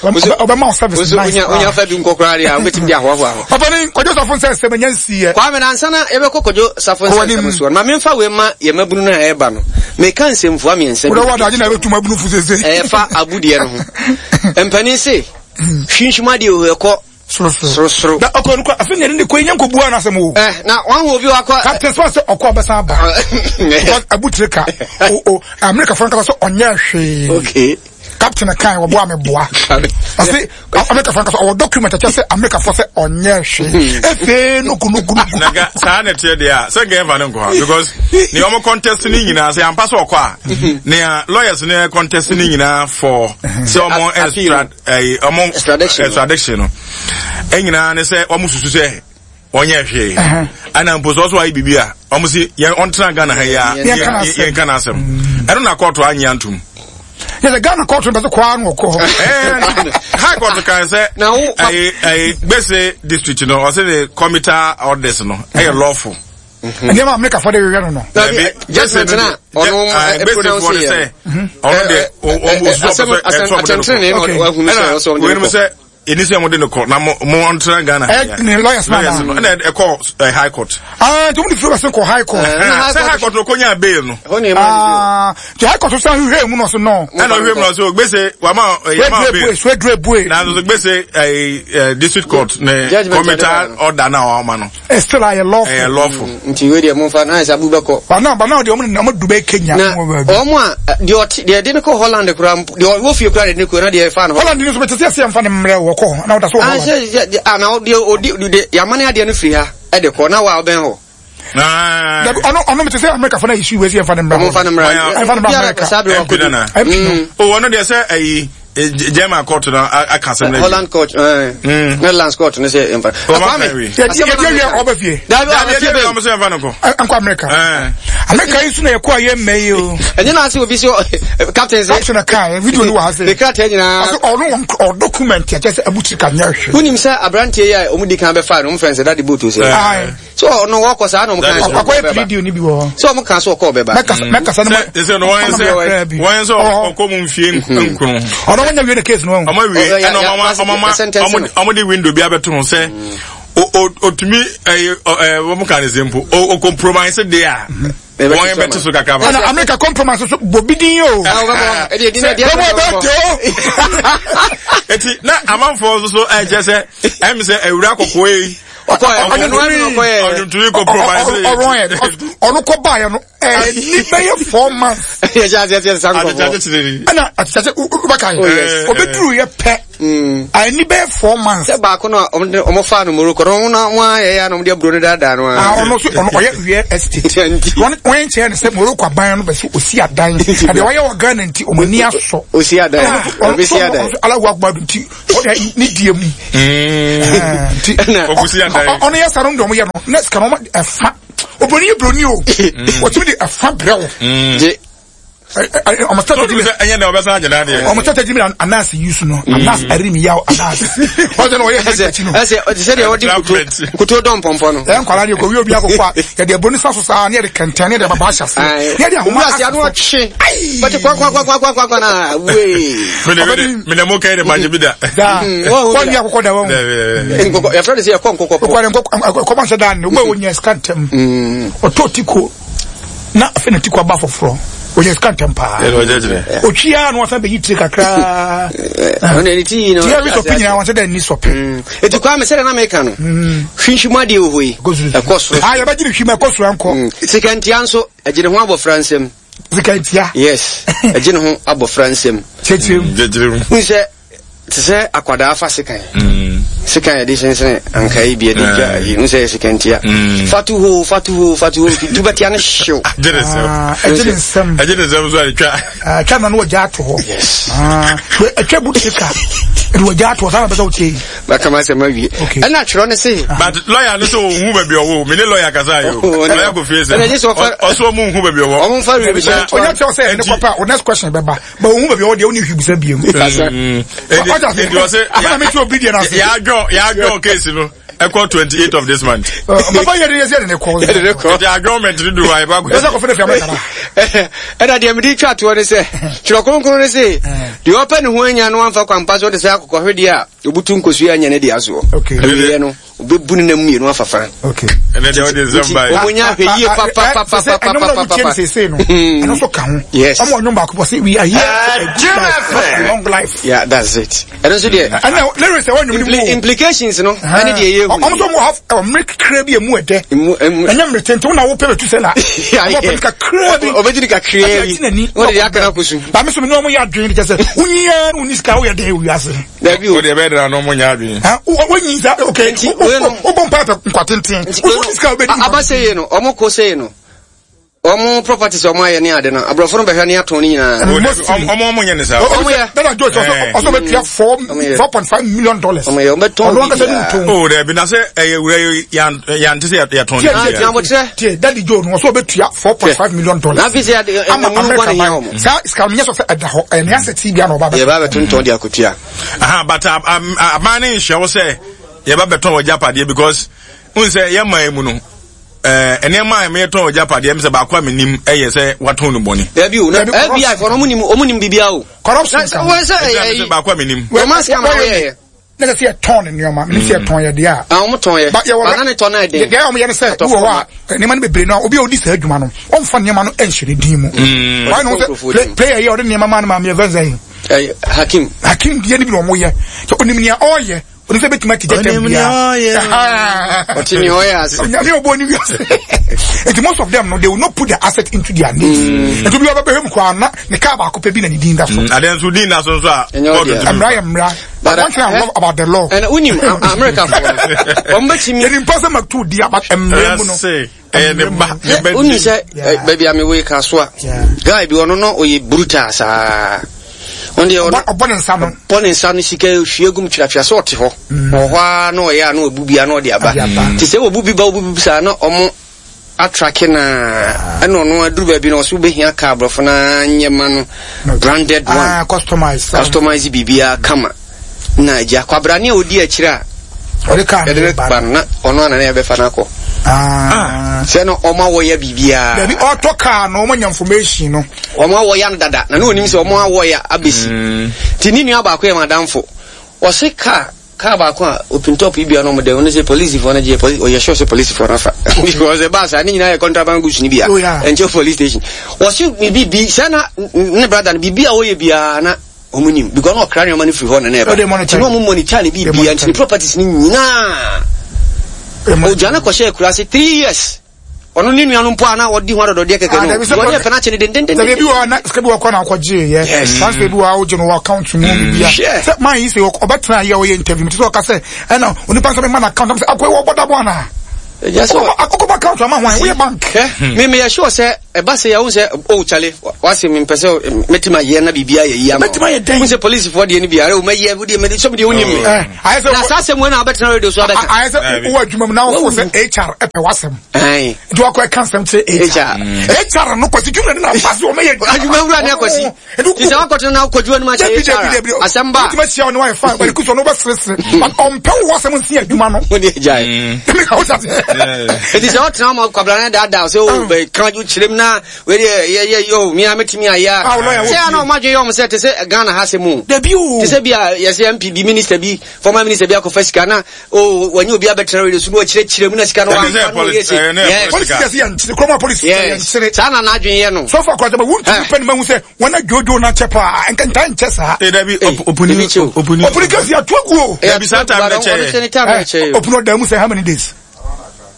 Ɔbɛma wo service nice. Wonya fa bi nkɔ koraa deɛ a wobɛtumi de ahoahoa ho. Papa ne Kwadwo Safo nsɛ sɛ manya nsiiɛ. Kwame na ansa na yɛbɛkɔ Kwadwo Safo nsɛ nsɛm soɔ no, ma memfa wei ma yɛn mabunu no a ɛreba no. Meka nsɛmfua mmiɛnsa bi. Wodɔ wɔ adagye na ɛbɛtu mabunu fo sese. Ɛfa abudeɛ no ho. Mpanin se, hwinhwim adeɛ o, ɛkɔ sorosoro. Na ɔkɔ no kɔ afei na ne kɔ nya nkɔbu ana asɛm o. Eh, na wɔn ho obi wakɔ. Captain Smart sɛ ɔkɔ ɔbɛsan aba. Because abutire ka o o America fo nkasa sɛ ɔnyɛ hwee. Okay. Captain kan wɔboa me boa. Ɔse America fo nkasa ɔwɔ document ɛkyɛ sɛ America fo sɛ ɔnyɛ hwee. Efe no kunu kunu. Na ga saa na ɛteɛ deɛ a sɛ nka yɛmfa no nkɔ ha because nea wɔn contest ne nyinaa sɛ ampa sɛ ɔkɔ a nea lawyers ne contest ne nyinaa for sɛ wɔn extra ɛyi ɔmo extradition no ɛnyinaa ne sɛ ɔmo susu sɛ ɔnyɛ hwee ɛna mpo sɛ ɔso ayɛ biribi a ɔmo si yɛn ɔntena Ghana ha yi a yɛn ka n'asɛm ɛno na kɔɔto anyi antum. yɛ sɛ Ghana kɔɔto no bɛ sɛ kɔɔ ano ɔkɔ hɔ. High court kan sɛ ɛyi ɛyi gbèsè district no ɔsɛ de committee orders no ɛyɛ lawful. Nneɛma Amerika fɔ de hwehwɛ no no. Dabi judgment na ɔno pronounce yɛ. Ɔno de ɔmo osusu ɔpɛ sɛ ɛsɛ ɔmo de no kɔ. Ɛna wei sɛ ɛni sɛ ɔmo de no kɔ na mo mo ɔntena Ghana. Ɛ ne lawyers na na. Ɛna ɛkɔ high court. Aa nti ɔmo de firi ɔsɛ kɔ high court. Sɛ high court no ko nya bail no. Aa nti high court san hwehwɛ mu na ɔsɛ no. Ɛna ɔhwehwɛ mu na ɔsɛ gbèsè wama yama bail. Swedre bue. Na nso gbèsè ɛɛ district court ne committee order na ɔma no. Still ayɛ lawful. Ɛyɛ lawful. Nti wei deɛ momfa na ayɛ sɛ abu bɛkɔ. Bana bana deɛ ɔmo na ɔmo du bɛ Kenya. Na ɔmo a deɛ ɔte deɛ ɛde ne kɔ Holland koraa mpo deɛ ɔwɔ fie koraa deɛ ne kɔ na deɛ ɛfa no. Holland ni nso bɛ tete ɛsɛ yɛn fa ne mmerɛ wɔ kɔ na ɔda so wɔ Holland. Sɛ sɛ a na deɛ ɔdi deɛ yamane adeɛ no firi ha ɛde kɔ na wa ɔbɛn hɔ. Dabi ɔno ɔno mi te sɛ America fo na issue wei sɛ yɛn fa ne mmerɛ. Ɔmo fa ne mmerɛ. Yɛn fa ne mmerɛ America. MP nana. MP no. O ɔno deɛ sɛ ɛyi. German court na aka asɛm no. Holland court. Netherlands court no sɛ mfa. Kwame. Yɛdi yɛdi yɛ ɔbɛ fie. Dabi ɔbɛ fie bɛ. Ɔmo sɛ mfa no kɔ. Nkɔ America. America yi so na yɛkɔ a yɛ mmɛ yi o. Ɛnyɛ na ase obi sɛ captain sɛ. Captain na kan video ni wɔ ha sɛ. Ne krataa nyinaa. Ɔsɛ ɔno ɔ document yɛ kyɛ sɛ abukyiri ka nyɛ hwee. Wonim sɛ aberanteɛ yi a ɔmo di kan bɛfa no ɔmo fɛn sɛ dade boat sɛ. So ɔno wɔkɔ saa na ɔmo kan sɛ ɔkɔ yɛ video ni bi wɔ hɔ. Sɛ ɔmo kan so ɔkɔ ɔbɛba. Mɛkasa mɛkasa ne ma. Sɛ no wɔn sɛ wɔn sɛ ɔkɔ mu nfie nkron. Ɔno wɔn nya wie ne case no wɔn. Ɔmo wie ɛna ɔmo ama ɔmo de window bi abɛto ho sɛ otumi ɛyɛ ɛɛ wɔn kan ne se mpo o compromise de a. Wɔn yɛn bɛte so kakra ma. Ɛna America compromise so bɔ bi din o. Ɛdi ɛdi ɛdi ɛdi o. Eti na amanfoɔ nso so ɛkyɛ sɛ ɛmi sɛ ewura kɔkɔɔ yi. Ɔkɔ ɛ ɔno no ɔkɔ yɛ. Ɔdwomtoni kɔ provide. Ɔrɔn yɛ ɔno kɔ baa yɛ no ɛni bɛyɛ 4 months. Yɛ hyɛ aseɛ sɛ sisan nkɔfɔ. Ɛna akyekye wobɛka yɛ obɛduru yɛ pɛ ɛni bɛyɛ 4 months. Sɛ baako no a ɔmo fa no Morocco no ɔmo na ɔmo ayɛ yɛ na ɔmo de aburo no daadaa no a. Ɔno nso ɔno ɔyɛ real estate. Wɔn wɔn nkyɛn no sɛ Morocco aban no bɛ so osi adan. Ɛdeɛ ɔyɛ wɔ Ghana nti ɔmo ani asɔ. Osi adan. Ɔbɛsi adan. Alahu akbar nti ɔde ne die mu. Nti ɔno yɛ sa no deɛ ɔmo yɛ no ne sika no ɔmo ɛfa obroni yɛ broni o wɔtumi de ɛfa brɛ wo. Ɔmo tata gyimi ɛnyɛ na ɔbɛsan agyina adeɛ. Ɔmo tata gyimi na anaase yi so no anaase ɛri mi yaw anaase. Ɔsɛ na ɔyɛ hɛ akyi no. Ɛsɛ sɛ deɛ ɔde kuto kuto dɔn pɔmpɔ no. Ɛyɛ nkwadaa deɛ kɔwi obi akɔkɔ a yɛde aburo ne sa so saa ne yɛde kɛntɛn ne yɛde ababa ahyɛ ase ne yɛde ahoma ase ano ɔtwe. Bɛte kwa kwa kwa kwa kwa kwa na wee. Mene mo kɛn de ma gye bi da. Daa wɔn ni akɔkɔ da wɔn. Nkɔkɔ yɛfrɛ no sɛ yɛkɔ nkɔkɔ pɔ. Nkɔkɔ nkɔkɔ kɔma nhyɛ daa ne wo bɛ wɔnyɛ sika ntɛm. Ɔtɔ ti ko. Na afei na ti kɔ aba foforɔ, ɔyɛ sika ntɛm paa, ɔtwi a na wasan bɛyi tire kakraa tiɛ bi sɔpe nyinaa wɔn sɛ dɛ ni sɔpe. Eti kwa mi sɛdeɛ na meka no hwinhwim adeɛ wɔ hɔ yi ɛkɔ soro. Ah, yɛbɛgye ne hwim ɛkɔ soro ɛnkɔ. Sikantia nso ɛgye ne ho abɔfra nsam. Sikantia. Yes, ɛgye ne ho abɔfra nsam. Kyerɛkyerɛ mu. Kyerɛkyerɛ mu. N sɛ te sɛ akwadaa fa sekan. Sekan yɛde sensene ankaa yi bi yɛde dwa ayi n sɛ yɛ sekantia. Fatu hoo fatu hoo fatu hoo tu bɛtia ne hyew. Ɛgye ne nsam. Ɛgye ne nsam. Ɛgye ne nsam so a ɛtwa. Ɛtwa na no wɔgya ato hɔ. Yes. Ɛtwa bu sika ɛde wɔgya ato hɔ saa na bɛ sɛ wotie yi. Baka ma sɛ ma wie. Ɛna twerɛ ne se. But lawyer no sɛ ɔnhu baabi ɔwɔ me ne lawyer kasa yi o. Lawyer kò fie sɛ. Ɔsɛ ɔmo nhu baabi ɔwɔ. Ɔmo nfa wie bi sɛ. Ɔnyɛ kyerɛ sɛ ɛne kɔpɛ a o next question bɛba. Ba ohun baabi ɔwɔ deɛ ɔne hwi bisa biem. Ɔjà se ɔsɛ afɛn mi ti obi deɛ n'ase. Yàjọ yàjọ case no ɛkɔ 28 of this month. Bàbá yɛ de yɛ sɛ yɛ de ne kɔ. Yɛ de ne kɔ. Ɛdi adjournment ni do wa yɛ ba kɔ. Ɛsɛ kɔfɛ de fi amɛ kara. Ɛna deɛ mede twa toɔ ne sɛ twerɛ kronkron ne se deɛ ɔpɛ ne ho anya no amfa kwampa so de sɛ akokɔhwedeɛ a ɔbutu nkosua anya ne deɛ asoɔ awieɛ no Obebu ne nam mmienu afa fa. Okay. Ɛnɛ deɛ ɔde nsɛm ba yi. Wɔn nya ahwɛ yie papapapapapapa. Ɛnum na sese no. Ɛno nso ka ho. Yes. Ɔmo ɔnyom baako bɔ sɛ we are here for a good life, not a long life. Yeah, that's it. Ɛno nso deɛ. Ɛnna lyrics ɛwɔ nnwom ni mu. Implications no. Ɛne deɛ yɛ hu. Ɔmo nso mo have ɔmere kakra bi emu ɛdɛ. Emu emu. Ɛnyɛ mmere tenten wo na wo pɛ bɛ tu sɛ la. Ɔmo pɛ kakra bi. Ɔbɛgye kakra bi. Wɔde deɛ akana kɔ so. Ba mi so mi ni ɔmo yɛ adwene kyɛ sɛ wonyi yɛ wonni sika woyɛ dɛ ewi ase. Dabi o. O deɛ bɛyɛ dara na ɔmo nyɛ adwene. Wonyi sa okay. Nti wei no. Wobɔ mpa pɛ nkwa tenten. Wonni sika wobɛdi. Aba sɛ yie no ɔmo ko sɛ yie no ɔmo properties ɔmo ayɛ ne ade no aborɔfo no bɛhwɛ ne atɔn ne nyinaa. Ɔmo ɔmo nyɛ ne saa. Ɔmo yɛ. Dada Joyce ɔsɔ ɔsɔ bɛ tua $4.5 million. Ɔmo yɛ ɔmo bɛ tɔn Ɔno ankasa ne ntɔn. O dɛbi na sɛ ɛyɛ wura yi yan yante sɛ yɛtɔn. Tie tie tie Daddy Joe no ɔsɔ bɛ tua $4.5 million. Na afei sɛ yɛ Ama America ban saa sika no nyɛ sɔ sɛ ɛda hɔ ɛyɛ ne asɛ ti bi ana ɔba bɛ. Yɛ ba bɛ tontɔn de akotua. Aha, but aban ne nhyɛ wo sɛ yɛba bɛtɔn wɔ gyapadeɛ because n sɛ yɛ man mu no nneɛma a meyɛtɔn wɔ gyapadeɛ m sɛ baako a menim ɛyɛ sɛ watɔn no bɔne. Dabi o, na FBI fɔ no ɔmo nim ɔmo nim biribiara o. Corruption ka ho. Wɔn sɛ ɛyɛ baako a menim. Wɔn asika ma wɔyɛ yɛ. Ne sɛ sɛ yɛtɔn ne nneɛma menim sɛ yɛtɔn yɛ deɛ a. Ah, wɔn tɔn yɛ. Ba yɛwɔ Bana ne tɔn na ɛden. Deɛ wɔn yɛ ne sɛ wowɔ hɔ a nneɛma no bebree no a obi a odi saa adwuma no ɔmfa nneɛma no nhyɛ ne din mu. Wɔn na wɔn sɛ player yi a ɔde nneɛma maa no maame yɛ fɛn sɛ yi. Hakim. Hakim deɛ ne bi na wɔn yɛ sɛ onim nea ɔreyɛ onim sɛ betumi ati gyata biara. Ɔte nea ɔyɛ ase. Nyame ɔbɔ ne wiase. Nti most of them no they will not put their asset into their names. Nti obi wa bɛbɛhwɛ mu koraa na ne kaa baako pɛ bi na ne din da so. Adeɛ nso din da so nso a. Mmara yɛ mmara. But one thing I love about the law. And unim America for. Wɔn bɛ ti mi. Yɛn nipa sɛ ma tu di aba mmerɛ mu no. Ɛyɛ ne ba ne ba. Unim sɛ baabi a mi wɔ yi ka so a. Guy bi ɔno no ɔyɛ brutal saa. Ɔno deɛ ɔno. Ɔbɔ ne nsa no. Ɔbɔ ne nsa no sika hwie gum twatwa sɛ ɔte hɔ. Wɔ hɔ ara na ɔyɛ a na ɔbu bi a na ɔde aba. Te sɛ ɔbu bi ba ɔbu bi saa na ɔmo atrake no a ɛna ɔno aduru baabi no ɔso wobɛhia kaa aborɔfo no nyɛ ma no branded one ah, customize customize biribiara kama na agya kwabrane a ɔdi akyire a ɔde kaa no ba no na ɔno ana na yɛbɛfa no akɔ ah. sɛ no ɔma wɔyɛ biribiara dabi ɔtɔ kaa no ɔma nya information no ɔma wɔyɛ no dada na ne ɔnim sɛ ɔma wɔyɛ abɛsi mm. nti ne nua baako yɛ madamfo ɔse kaa Car baako a open top yi bia no ɔmo dɛ ɔno sɛ polisifoɔ no gyeɛ polisi ɔyɛ sure sɛ polisifoɔ no afa because ɛbaa saa ne nyinaa yɛ contraband goods no bia Oh, yeah. ɛnkyɛ police station wɔse biribi bi sɛ na ne brother no biribi a ɔyɛ biara na ɔmo nim because na ɔkra nneɛma no firi hɔ na na Oh, they ɛba monitor nti na ɔmo monitor ne They biribi monitor nti ne properties no nyinaa. Ɔdwane kɔhyɛɛ akuraase 3 years. Ɔno ne nua no mpo a na ɔdi ho adɔdɔdeɛ kɛkɛ no, wɔne ɛpɛ no akye no dendendenden. Sɛ ebi wɔ hɔ na sika bi wɔ kɔ na akɔgye yɛ. Transfer bi wɔ hɔ a wogye no wɔ account mu bibia. Sɛ man yi sɛ ɔbɛtena yɛ ɔyɛ interview ti sɛ ɔka sɛ ɛna onipa nsa bɛma na account sɛ akɔ wɔ bɔda bɔ ana. Akɔkɔba account ama hwan woyɛ bank. Me meyɛ sure sɛ ɛba sɛ yɛwo sɛ oh chale wase mempɛ sɛ mɛtumi ayɛ na biribi ayɛ yi ama mɛtumi ayɛ dɛn wo sɛ polisifoɔ deɛ no bi are wo mɛyɛ wodeɛ mɛde sɛ medeɛ wonim me na saa asɛm wei na wobɛtena radio so abɛka ayɛ sɛ wowɔ adwuma mu na wofo sɛ HR ɛpɛ w'asɛm nti wakɔ ɛka nsɛm kyerɛ HR HR no kwasi dwuma no na afa so ɔmɛyɛ adwuma wura ne akwasi nti sɛ wakɔtena na wokɔdwuma no mu akyɛ HR asɛm ba wotumi ahyia wo ne wayɛ fine bɛde kusɔ no wobɛseresere but ɔmpɛ wo w'asɛm nsi adwuma no wode agyae nti sɛ wotena ma kwabra no daadaa sɛ o bɛka kyerɛ mu na wei deɛ yɛ yɛ yɛ o mia mɛtumi ayɛ a sɛ ana ɔmo adwene yɛ ɔmo sɛ te sɛ Ghana ha sɛ mu dabi o te sɛ bi a yɛsɛ MP bi minister bi former minister bi akɔfa sika na o wɔnyɛ obi abɛtena radio so na wɔkyerɛkyerɛ mu na sika no wɔamfa no wɔyɛ sɛ polisi yɛ sɛ yɛnkyere kuroma polisi yɛ yɛnkyere saa na n'adwene yɛ no sɔfo akɔrɔtɛ ma wuntumi pɛ ne ma hu sɛ wɔn adwodwo na kyɛ paa nka ntaa nkyɛ saa dabi opuni opuni opuni kasi ato agu o dabi saa time na kyɛ yɛ opuni ɔda mu sɛ how many days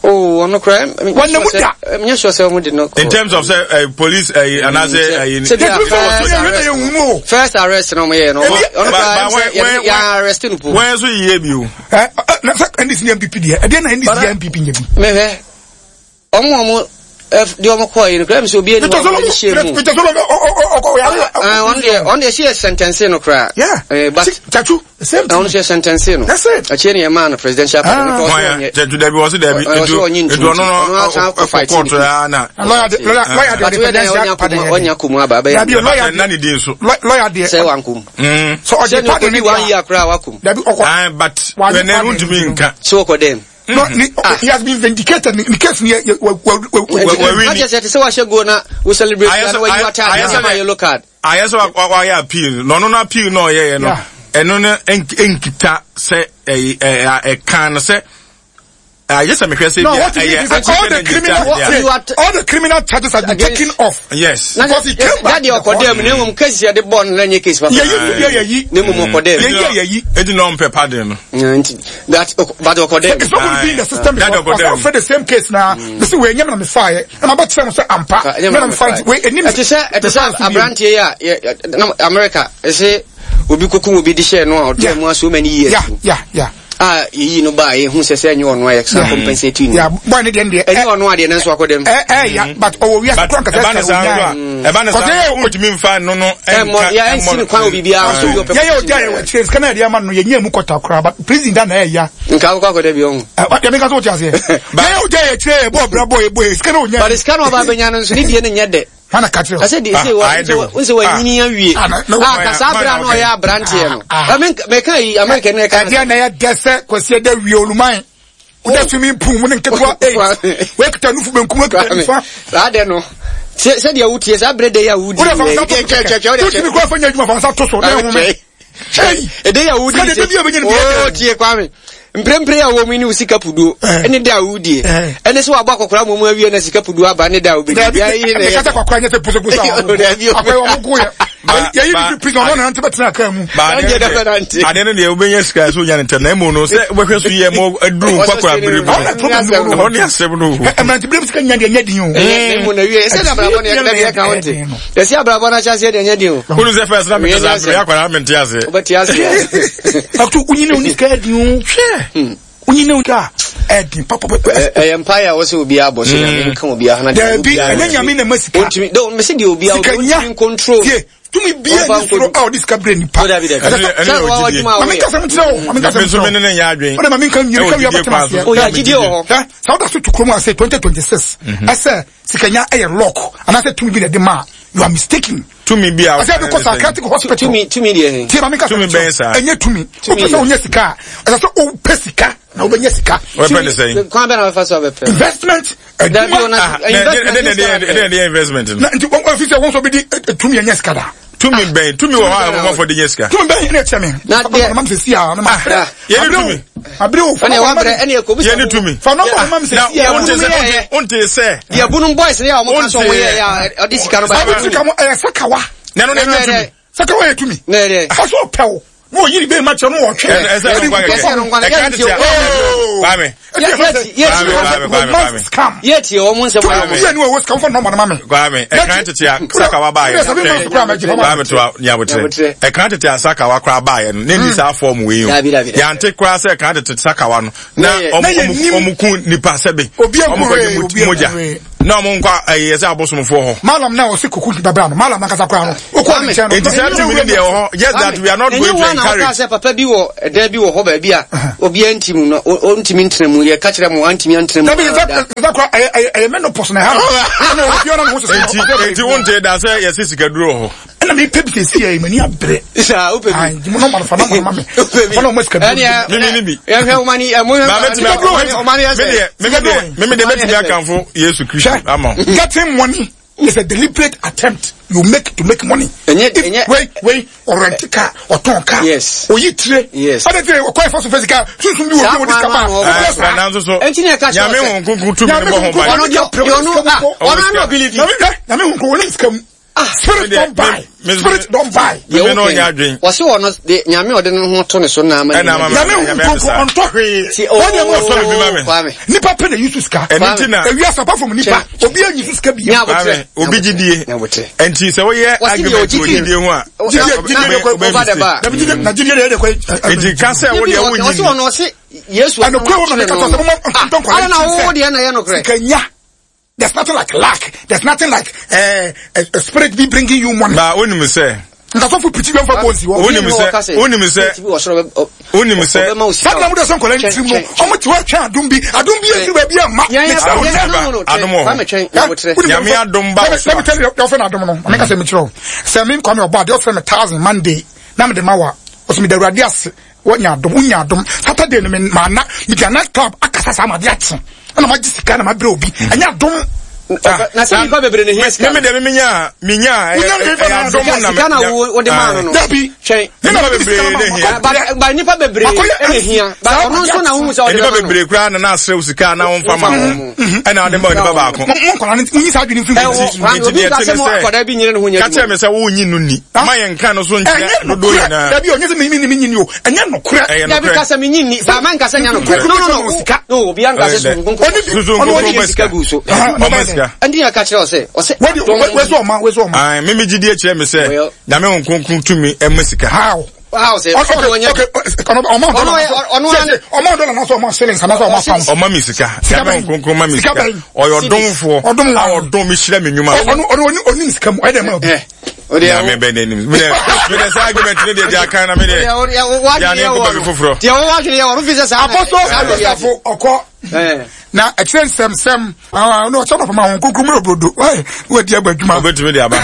Oh, ɔno kora. Wɔn na mu da. Nyɛ sure sɛ wɔn de no. In terms of sɛ uh, police uh, anaasɛ ɛyi. Sɛ bi a first arrest. First arrest na wɔn yɛ no. Ɔno kora yɛ yɛ arrest no po. Wɔn nso yie bi o. Ɛ ɛ na sɛ NDC ni NPP deɛ ɛdeɛ na NDC yɛ NPP nyɛ bi. Mehwɛ wɔn wɔn deɛ wɔn kɔɔ yi no kora mi sɛ obi ani wɔn de hyɛ mu. Peter Solo ɔkɔ yare. Ɔno deɛ ɔno deɛ si yɛ sentence no kora. Yeah. But Chachu. Same thing. Ɔno sɛ sentence no. That's it. Akyire ne yɛmaa no presidential pardon. Ah. Hwan ya? Judge dabi wɔsi dabi. Ɔsɛ ɔnye ntu. Edu ɔno no ɔkɔ kɔɔto ya na. Lawyer de lawyer lawyer de presidential pardon. Ɔnya kumu aba abɛyɛ. Dabi lawyer de. Nani di nso. Lawyer de. Sɛ wankum. So ɔgye pardon ni one year koraa wakum. Dabi ɔkɔ. Ah but wɛnɛ ntumi nka. So ɔkɔ dɛm. No, ni, ah. he has been vindicated. Ni case ni ye wa wa wa. Wa kyerɛ sɛ te sɛ wahyɛ goal na wo celebrate na wayi w'ataade na ama yellow card. Ayɛ sɛ wayɛ appeal na ɔno no appeal na ɔyɛyɛ no ɛno no nkita sɛ ɛka no sɛ ayɛ sɛ mehwɛ sɛ no, what ɛyɛ all the criminal all the criminal charges have been taken off. Yes. Because he came back. Daddy ɔkɔ dɛm na mmom case yɛ de bɔ no na nyɛ case papa. Yɛyi yɛ yɛyi. Na mmom ɔkɔ dɛm. Yɛyi yɛ yɛyi. Edi na ɔmpɛ pardon no. Nti that but ɔkɔ dɛm. It's not going to be in the system because ɔsan fɛ the same case na. Bisi wei nyɛ mi na mi fa yɛ. Ɛna bɛ kyerɛ mo sɛ ampa. Nyɛ na mi fa yɛ wei enim. Ɛte sɛ ɛte sɛ aberanteɛ yi a na America ɛsɛ obi koko obi de hyɛ no a ɔtɔ mu so many years. Yeah yeah yeah. A yɛyi no ba a yɛhu sɛ sɛ ɛnyɛ ɔno a yɛsan compensate no. Yeah boy ne deɛ ne deɛ. Ɛnyɛ ɔno adeɛ nanso akɔ dɛm. Ɛ ɛ ya but ɔwɔ wiase kura nkasa ɛsɛ ɔnya. Ɛba ne saa ntumi nfa no no ɛnka ɛmmɔ. Ɛnsi ne kwan wɔ biribiara so. Yɛ yɛ ɔdi ayɛ wɔ akyire sika na yɛde ama no yɛnyɛ mu kɔta koraa but prison da na ɛyɛ. Nka akɔ akɔ dɛ bi ɔho. Ɛ yɛ mi ka so wɔte aseɛ. Yɛ yɛ ɔdi ayɛ akyire yɛ bɔ ɔbra bɔ yɛ bɔ yɛ sika na ɔnya. But sika na ɔba abɛnya no nso ne deɛ no nyɛ dɛ. Hana ka kyerɛ. Ɛsɛ de sɛ wɔ nsɛ wanyini awie. Ah ka saa abira no ɔyɛ aberanteɛ no. Ɛmi mɛka yi Amerika ne ɛka. Ɛdeɛ na ɛyɛ dɛ sɛ Kwasi ɛdɛ wie oluman. Wodɛ swimming pool mu ne nketewa eight. Wekita nufu benkum wekita nifa. Saa dɛ no. Sɛdeɛ wotie saa berɛ dɛ yi a wodi. Wodɛ fa nsa to so. Wotumi kura fa nya adwuma fa nsa to so na ɛhome. Ɛdɛ yi a wodi. Sɛ tie Kwame. Mprempren a wɔn ne wo sika puduo ne da a wodie ɛne sɛ wabɔ akɔkora mmom awie na sika puduo aba ne da a wobɛdi. Dabi ɛkasa akɔkora nyɛ sɛ pusopuso a akɔyɛ wɔn ko yɛ yɛyi ne fi prison ɔno nante bɛtena kaa mu. Adeɛ no deɛ wobɛnya sika sɛ wonya ne ntɛm na mmom no sɛ wobɛhwɛ so yɛ ma aduru nkwakora bere mu ɛhɔ ne asɛm no mmerante berɛ mu sika nya deɛ nyɛ den o. Mmom na wie ɛsɛ abrabɔ no yɛ ka wo nte Yɛsi abrabɔ no ahyɛaseɛ deɛ ɛnyɛ den o. Wonu sɛ first na mete saa meyɛ akwadaa mente aseɛ. Wobɛte aseɛ. Akto wonyini wo sika ɛdin o. Hwɛ. Wonyini wo sika ɛdin papa. Ɛyɛ mpaeɛ a wɔsɛ obiara bɔ sɛ nyame nka obiara na deɛ obiara. Dabi ɛnyɛ nyame na ma sika. Ontumi do mese deɛ obiara ontumi control. Tie tumi bia ni soro a ɔde sika brɛ nipa. Maame nkasa mu kyerɛ o. Maame nkasa mu kyerɛ o. Ne ne nyɛ adwene. Ɔde maame nka nyere ka wia bɛtena aseɛ. Oyɛ agyidie wɔ hɔ. Sɛ woda so to kurom ase 2026 ɛsɛ Sikanya ɛyɛ lock anaasɛ tumi bi na ɛde ma you are mistaken. Tumi bi a ɛsɛ ɛde kɔ psychiatric hospital. Tumi tumi deɛ he. Tie maame kasa tumi bɛn saa. Ɛnyɛ tumi. Wopɛ sɛ wonya sika a ɛsɛ sɛ wopɛ sika na wobɛnya sika. Wɔpɛ ne sɛn. Kwan bɛn na wɔfa so abɛpɛ. Investment adwuma. Ɛdɛ ɛdɛ ɛdɛ investment no. Na nti wɔn fi sɛ wɔn nso bi di tumi ɛnyɛ sika da. Tumi bɛn tumi wɔ hɔ a wɔn de nyɛ sika. Tumi bɛn ɛna ɛkyɛ mi. Na deɛ ma mi sɛ si a ma brɛ. Yɛne tumi. Abiri o. Ɛna ɛwɔ brɛ ɛna ɛkɔ bisa. Yɛne tumi. Fa nɔmba ma mi sɛ si a. Na wonte sɛ. Deɛ bunum boys ne a wɔn ka sɛ wɔn yɛ yɛ ɔde sika no ba. Sabi sika mo ɛyɛ sakawa. Na ɛno na ɛnyɛ tumi. Sakawa yɛ tumi. Na ɛyɛ. Ɔsɔ pɛw. Na ɔyi ne bɛɛ ma kyerɛ no ɔtwe. Ɛsɛ ɛno nkwa kɛkɛ. Ɛka tete a. Kwame. Kwame. Scam. Yɛ tie wɔn nsɛm. Kwame. Yɛ ni wɔ sika nfa nɔɔma ma mi. Kwame ɛka tete a sakawa baa yɛ. Kwame to a nyabotrɛ. Ɛka tete a sakawa koraa baa yɛ no ne ni saa fɔm wei o. Yante koraa sɛ ɛka tete sakawa no na ɔmo ku nipa sɛbe. Ɔmo kɔ gye mogya. Na ɔmo nkɔ ɛyɛ sɛ abosomfoɔ hɔ. Malam na ɔsi kuku babra no malam nankasa koraa no okɔ ne nkyɛn no. Nti saa tumi no deɛ wɔ hɔ just that we are not going to encourage. Ɛnyɛ wɔn na wɔka sɛ papa bi wɔ ɛdan bi wɔ hɔ baabi a obiara nti mu no ɔntumi ntena mu yɛ ka kyerɛ mo antumi antena mu. Dabi sɛ sɛ kora ɛyɛ ɛyɛ ɛyɛ menopause na ɛha no ɛna obiara na ne ho sɛ. Nti nti wonte da sɛ yɛsi sikaduro wɔ hɔ. Ɛna mi pɛ bi sɛ si yɛ mani abere. Saa wopɛ bi. Ayi mu nɔɔma fa nɔɔma ma mi. Wopɛ bi. Fa nɔɔma sika bi. Ɛni Mimi ni bi. Yɛhwɛ ɔma ni ɛmu Ba mɛtumi ɔma ni ɛsɛ. Me deɛ me deɛ mɛtumi akanfo Yesu Kristo ama wo. Getting money is a deliberate attempt you make to make money. Ɛnyɛ ɛnyɛ. Wei wei ɔrɛnti car ɔtɔn car. Yes. Oyi tire. Yes. Ɔde tire ɔkɔ ɛfɔ so fɛ sika sunsun bi wɔ bi wɔ di sika ba. Ɛɛ nanso so. Ɛnti ni ɛka kyerɛ Nyame ho nkunkun tumi ne bɔ ho ban. Ɔno deɛ ɔno ɔno ano ability. Nyame ho nkunkun ɔne sika mu. Ah, spirit don buy. Spirit don buy. Deɛ Meme no woka ɔnyɛ yi, adwen. wɔse wɔ no de nyame ɔde ne ho to ne so na ama Ɛna ama Nyame hu nkonko ɔntɔ hwee. Ti Wɔn deɛ mo Ɔtɔ biribi ma me. Kwame. Nipa pɛ na yusu sika. Ɛno nti na Ewi asa apart from nipa, obi anyi su sika bi. Nyabotrɛ. Kwame obi gyidie. Nyabotrɛ. Nti sɛ woyɛ Wɔse deɛ argument wɔ ɔgyidie. gyidie ho a Gyidie gyidie de kɔ. Over the bar. Dabi gyidie na gyidie de yɛ de kɔ. Nti ka sɛ wo deɛ Ɔse wonnyi ɔno ɔse Yesu Ɛno kura wo na meka sɛ mo ntɔ nkwadaa Ala na wo deɛ na yɛ nokorɛ. Sika nya. There's nothing like luck. There's nothing like uh, a spirit be bringing you money. Ba wonim sɛ. Nkasɔfo pirikyi bi nfa bɔ nsi hɔ. Wonim sɛ wonim sɛ wonim sɛ. Saa na mo de sɛ nkɔla ne tirim no ɔmo te hɔ twɛn adum bi adum bi efiri baabi a ma. Adum wɔ hɔ. Nyame adum ba wɔ so. Let me tell you ɔfɛ na adum no ɔmo kasa mi kyerɛ o. Sɛ mi nkwa mi ɔbɔ adeɛ ɔfɛ mi thousand Monday na mi de ma wa ɔsɛ mi da awurade ase. Wonya adom, wonya adom. Saturday no me ma na me di night club akasa saa ma de akye. Ɛna ma gye sika na ma brɛ obi. Mm. Ɛnyɛ adom. Ah, na sɛ nipa bebree ne hia sika. Meme deɛ meme nya me nya ɛyɛ adom na sika na wo de maa no no. Dabi. Twɛn. Nipa bebree ne hia. Ba nipa bebree ne hia. Ba ɔno nso na wohu sɛ ɔde Nipa bɛma no. bebree koraa na na asrɛ wo sika na womfa ma ho. Ɛna ɔde ma onipa baako. Mo nkɔla no munyi saa adwene mfiri mo Ɛwɔ ti. Kwame Nti obi deɛ nka ɛte sɛ ne mo sɛ akwadaa bi nyere ne ho nyɛ ka kyerɛ adwuma. me sɛ wonyi no ni. Ma yɛn nka no so nkyerɛ Ɛnyɛ dodoɔ nokorɛ. nyinaa. Dabi ɔnyɛ sɛ menyi ni menyi ni o. Ɛnyɛ nokorɛ. Ɛyɛ Dabi nokorɛ. ka sɛ menyi nni. Ba ma nka sɛ nyɛ nokorɛ. No no no. Sika. No obi anka sɛ Ɛyɛ dɛ. susu nkonko. Ɔne bi. Susu Ɔno nkonko ɔne bɛ Sika sika. gu so. Ɔma sika. Ɛnti na ka kyerɛ ɔsɛ ɔsɛ. Wadi wɛsɛ ɔma wɛsɛ ɔma. Ae, me me gyidie kyerɛ me sɛ Well. Nyame Honhom Kronkron tumi ɛma sika. How? Wow sɛ Okay, ɔno ɔnyɛ. okay, ɔno ɔma Ɔno ɔyɛ- ɔno dɔla ane- ɔma dɔla na sɛ ɔma shillings anaasɛ ɔma pounds. Ɔma me sika. Sika Nyame bɛn? Honhom Kronkron ma me Sika sika. bɛn? Ɔyɛ ɔdomfoɔ. Ɔdom A wa. ɔdom me hyira me nnwuma. Ɔno ɔno ɔni ɔnim sika mu ɛdɛ ma obi. Eh. Ɔde Nyame bɛ n'anim. Me deɛ me deɛ saa argument ne deɛ deɛ akan na me deɛ. Deɛ ne nkɔ baabi foforɔ. Deɛ wɔwɔ adwene yɛ wɔn fi sɛ saa. Apɔsɔ saa na wiase. Asafo ɔkɔ Eh. na ɛkyerɛ nsɛmsɛm na ɔkyɛ nɔpama ho kronkron mu yɛ brodo wadi aba adwuma Obetumi de aba.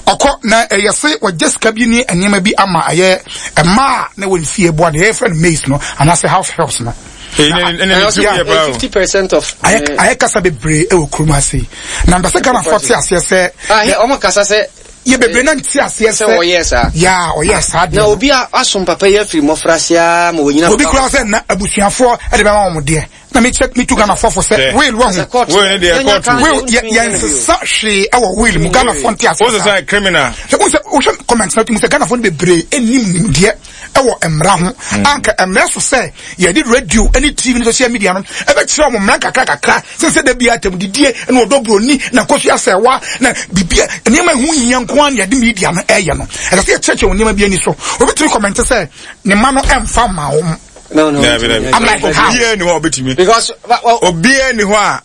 ɔkɔ na ɛyɛ se wɔgye sika bi ne nneɛma bi ama ɛyɛ mmaa na wɔn fie boa no yɛfrɛ no maize no anaasɛ house helps no Ɛne ne ti yɛ paa o. 50% of. ayɛ ayɛ kasa bebree ɛwɔ kurom ase yi na mpɛ sɛ Ghanafoɔ te aseɛ sɛ Ah, ɔmo kasa sɛ yɛ bebree na nte aseɛ sɛ sɛ wɔyɛɛ saa. yaa ɔyɛɛ saa deɛ Na no. obi a asom papa yi afiri mmɔfraase ara ma wɔnyina obi kura sɛ na abusuafoɔ ɛde bɛma wɔn deɛ na mekyɛ metu Ghanafoɔ fo sɛ Sɛ. will wɔ ho court. Wei ne deɛ Yɛnya court. kan- will yɛntumi nyɛ no bio. yɛnsesa hwee ɛwɔ will mu Ghanafoɔ nte aseɛ Wo sɛ saa sɛ criminal. sɛ wo sɛ wohwɛ comment na tumi sɛ Ghanafoɔ no bebree nnim nimdeɛ ɛwɔ mmara ho anka mmara so sɛ yɛde radio ne TV ne social media no ɛbɛkyerɛ wɔn mmara kakra kakra sɛ sɛ da bi atam didie na ɔdɔ buroni na nkosua sɛwa na bibia nneɛma ɛho hia nko ara na yɛde media no ɛyɛ no ɛsɛ sɛ yɛkyerɛkyerɛ wɔn nneɛma bi ani so obi tumi comment sɛ ne mma no ɛmfa ma wɔn No, no. Dabi dabi. I'm like, how? Obiara ni hɔ a obetumi. Because well, Obiara ni hɔ a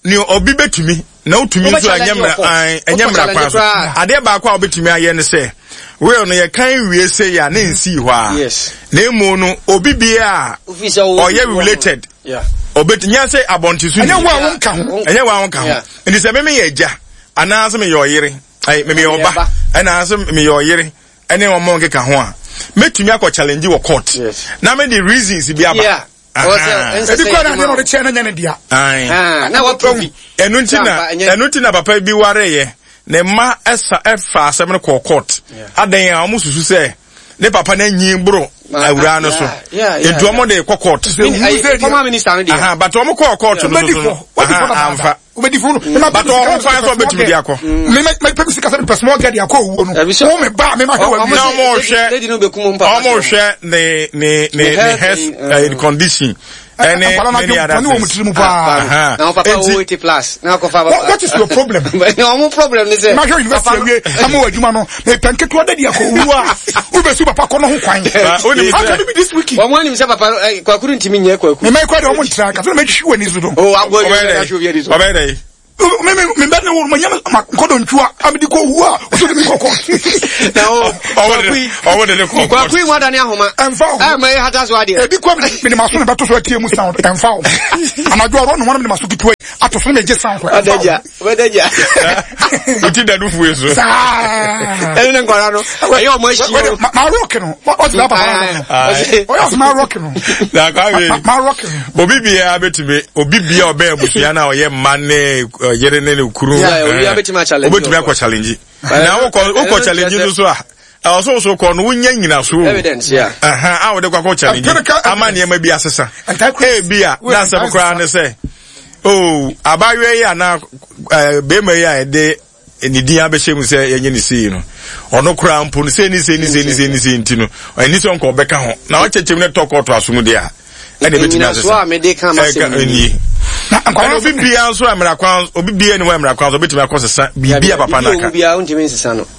ni obi betumi na wotumi nso a ɛnyɛ mmara an ɛnyɛ mmara kwan so. Adeɛ baako a wobetumi ayɛ ne sɛ will no yɛkan wie sɛ yɛ a ne nsii hɔ a. Yes. Na emu no obi bia a Ofi sɛ wo- ɔyɛ related Yeah. obetumi nyɛ sɛ abɔnten so ni. ɛnyɛ wo a wonka ho ɛnyɛ wo a wonka ho. Yeah. Nti sɛ meme yɛ agya anaasɛ meyɛ ɔyere ɛy meyɛ Meyɛ ɔba ba. ɛna meyɛ ɔyere ɛne wɔn nkeka ho a mɛtumi akɔ challenge wɔ court Yes. na mede reasons bi aba. Yeah. Ebi kura na adeɛ na ɔde kyɛn na nyɛ ne dea. Na waprovi. Ɛnu nti na ɛnu nti na papa bi ware yɛ ne mma ɛsa ɛfa asɛm no kɔɔ court. Adan a wɔn susu sɛ. ne papa no anyin boro awuraa no so nti wɔn de kɔ court. Former minister no deɛ. But wɔn kɔɔ court no so so no amfa. Wobɛdi funu. But ɔho kwan sɛ ɔbɛtumi de akɔ. Me me me pɛ mi sika sɛ mepɛ small girl de akɔ owuo no. Wo me ba me ma hwɛ wa. Na ɔmo hwɛ ɔmo hwɛ ne ne ne ne health condition. Ɛne many other things. Na papa wo 80 plus. Na akɔfa papa. What is your problem? Na ɔmo problem ne sɛ. Ma hwɛ university awie ama wɔ adwuma no. Mepɛ nketewa dadi akɔ owuo a. Wobɛsu papa kɔ no ho kwan. How can it be this week? Wɔn anim sɛ papa kwakuru ntumi nyɛ kwaku. Mema ekɔ de ɔmo ntra kasa na mɛtwi wɔ ani so do. O agbo yi na ahwɛ obi ani so. Ɔbɛyɛ dɛ. Me me me bɛ ne wo ma nyɛ ma nkɔdɔ ntwa amedi kɔ wu a ɔsɛ de mi kɔ kɔ. Na o kwaku yi ɔwɔ de ne kɔ. Kwaku yi mu adane ahoma. Ɛnfa o. Ɛ ma ye hata so adeɛ. Ebi kɔ mi de ma so na bɛto so atie mu sound ɛnfa o. Anadwo ɔrɔ no wɔn mi de ma so ketewa yi ato so na gye sound ɛnfa o. Ɔdɛgya ɔdɛgya. O ti da nufu yi so. Saa. Ɛne ne nkɔla no ɛyɛ ɔmo akyi o. Ma rock no ɔte saa papa no. Ɔyɛ ɔsɛ ma rock no. Na kwawe. Ma rock no. Obi biara bɛtumi obi biara ɔbɛn abusua na ɔyɛ mma ne yere ne ne kunu. Obetumi akɔ challenge. Na wokɔ wokɔ challenge nso so a ɛwɔ so so kɔ no wonya nyinaso. Evidence yeah. Ɛhɛn a wɔde kɔ akɔ challenge ama nneɛma bi asesa. Ebi a n'asɛm koraa ne sɛ oh abaayewa yi anaa ɛɛ bɛrima yi a yɛde ne din abɛhyɛ mu sɛ yɛnyɛ ne sei no ɔno koraa mpo no sei ne sei ne sei ne sei ne sei nti no ɛni sɛ nka ɔbɛka ho na ɔkyɛkyɛm no tɔ kɔɔto aso mu deɛ a ɛna ɛbɛtumi asesa ɛka nie ɛna obi biara nso a mmara kwan obi biara ni hɔ a mmara kwan so ɔbɛtumi akɔ sesa biribi a papa no aka.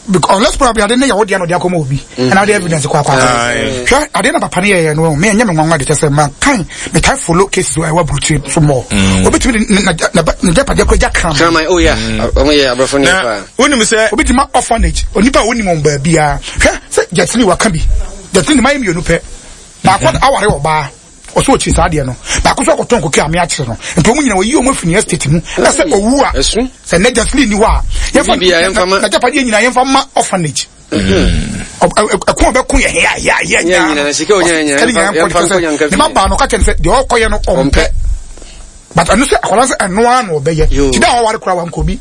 Because unless probably ade ne yɛ wo deɛ na ɔde akɔma obi ɛna ɔde evidence kɔ akɔ akɔ hwɛ ade na papa no yɛyɛ no me ɛnyɛ me nwanwa de kyɛ sɛ ma kan me tae follow cases wɔ ɛwɔ aburukyire so mɔ obetumi de ne ne gyapadeɛ kɔ agya kraman kraman oh yeah ɔmo yɛ aborɔfo ne paa wonim sɛ obi ti ma orphanage onipa a wonim wɔn baabiara hwɛ sɛ gyatini waka bi gyatini ne ma yɛ mmienu pɛ baako aware ɔbaa Ɔsɛ ɔkyiri saa adeɛ no. Baako nso akɔtɔn koke a me akyere no. Nti wɔn nyinaa wɔyi wɔn afiri ne estate mu. Na sɛ ɔwu a, sɛ nnɛ Jasmine nni hɔ a, yɛmfa n'agyapadeɛ nyinaa yɛmfa ma orphanage. Ɛko a ɔbɛko yɛ hea hea hea nyinaa. Sika nyinaa yɛmfa nkɔ ne ma baa no ɔka kyerɛ no sɛ deɛ ɔkɔyɛ no ɔmpɛ. But ɛno sɛ akwadaa sɛ ɛno ara na ɔbɛyɛ. Ti da a ɔware koraa wankɔ bi.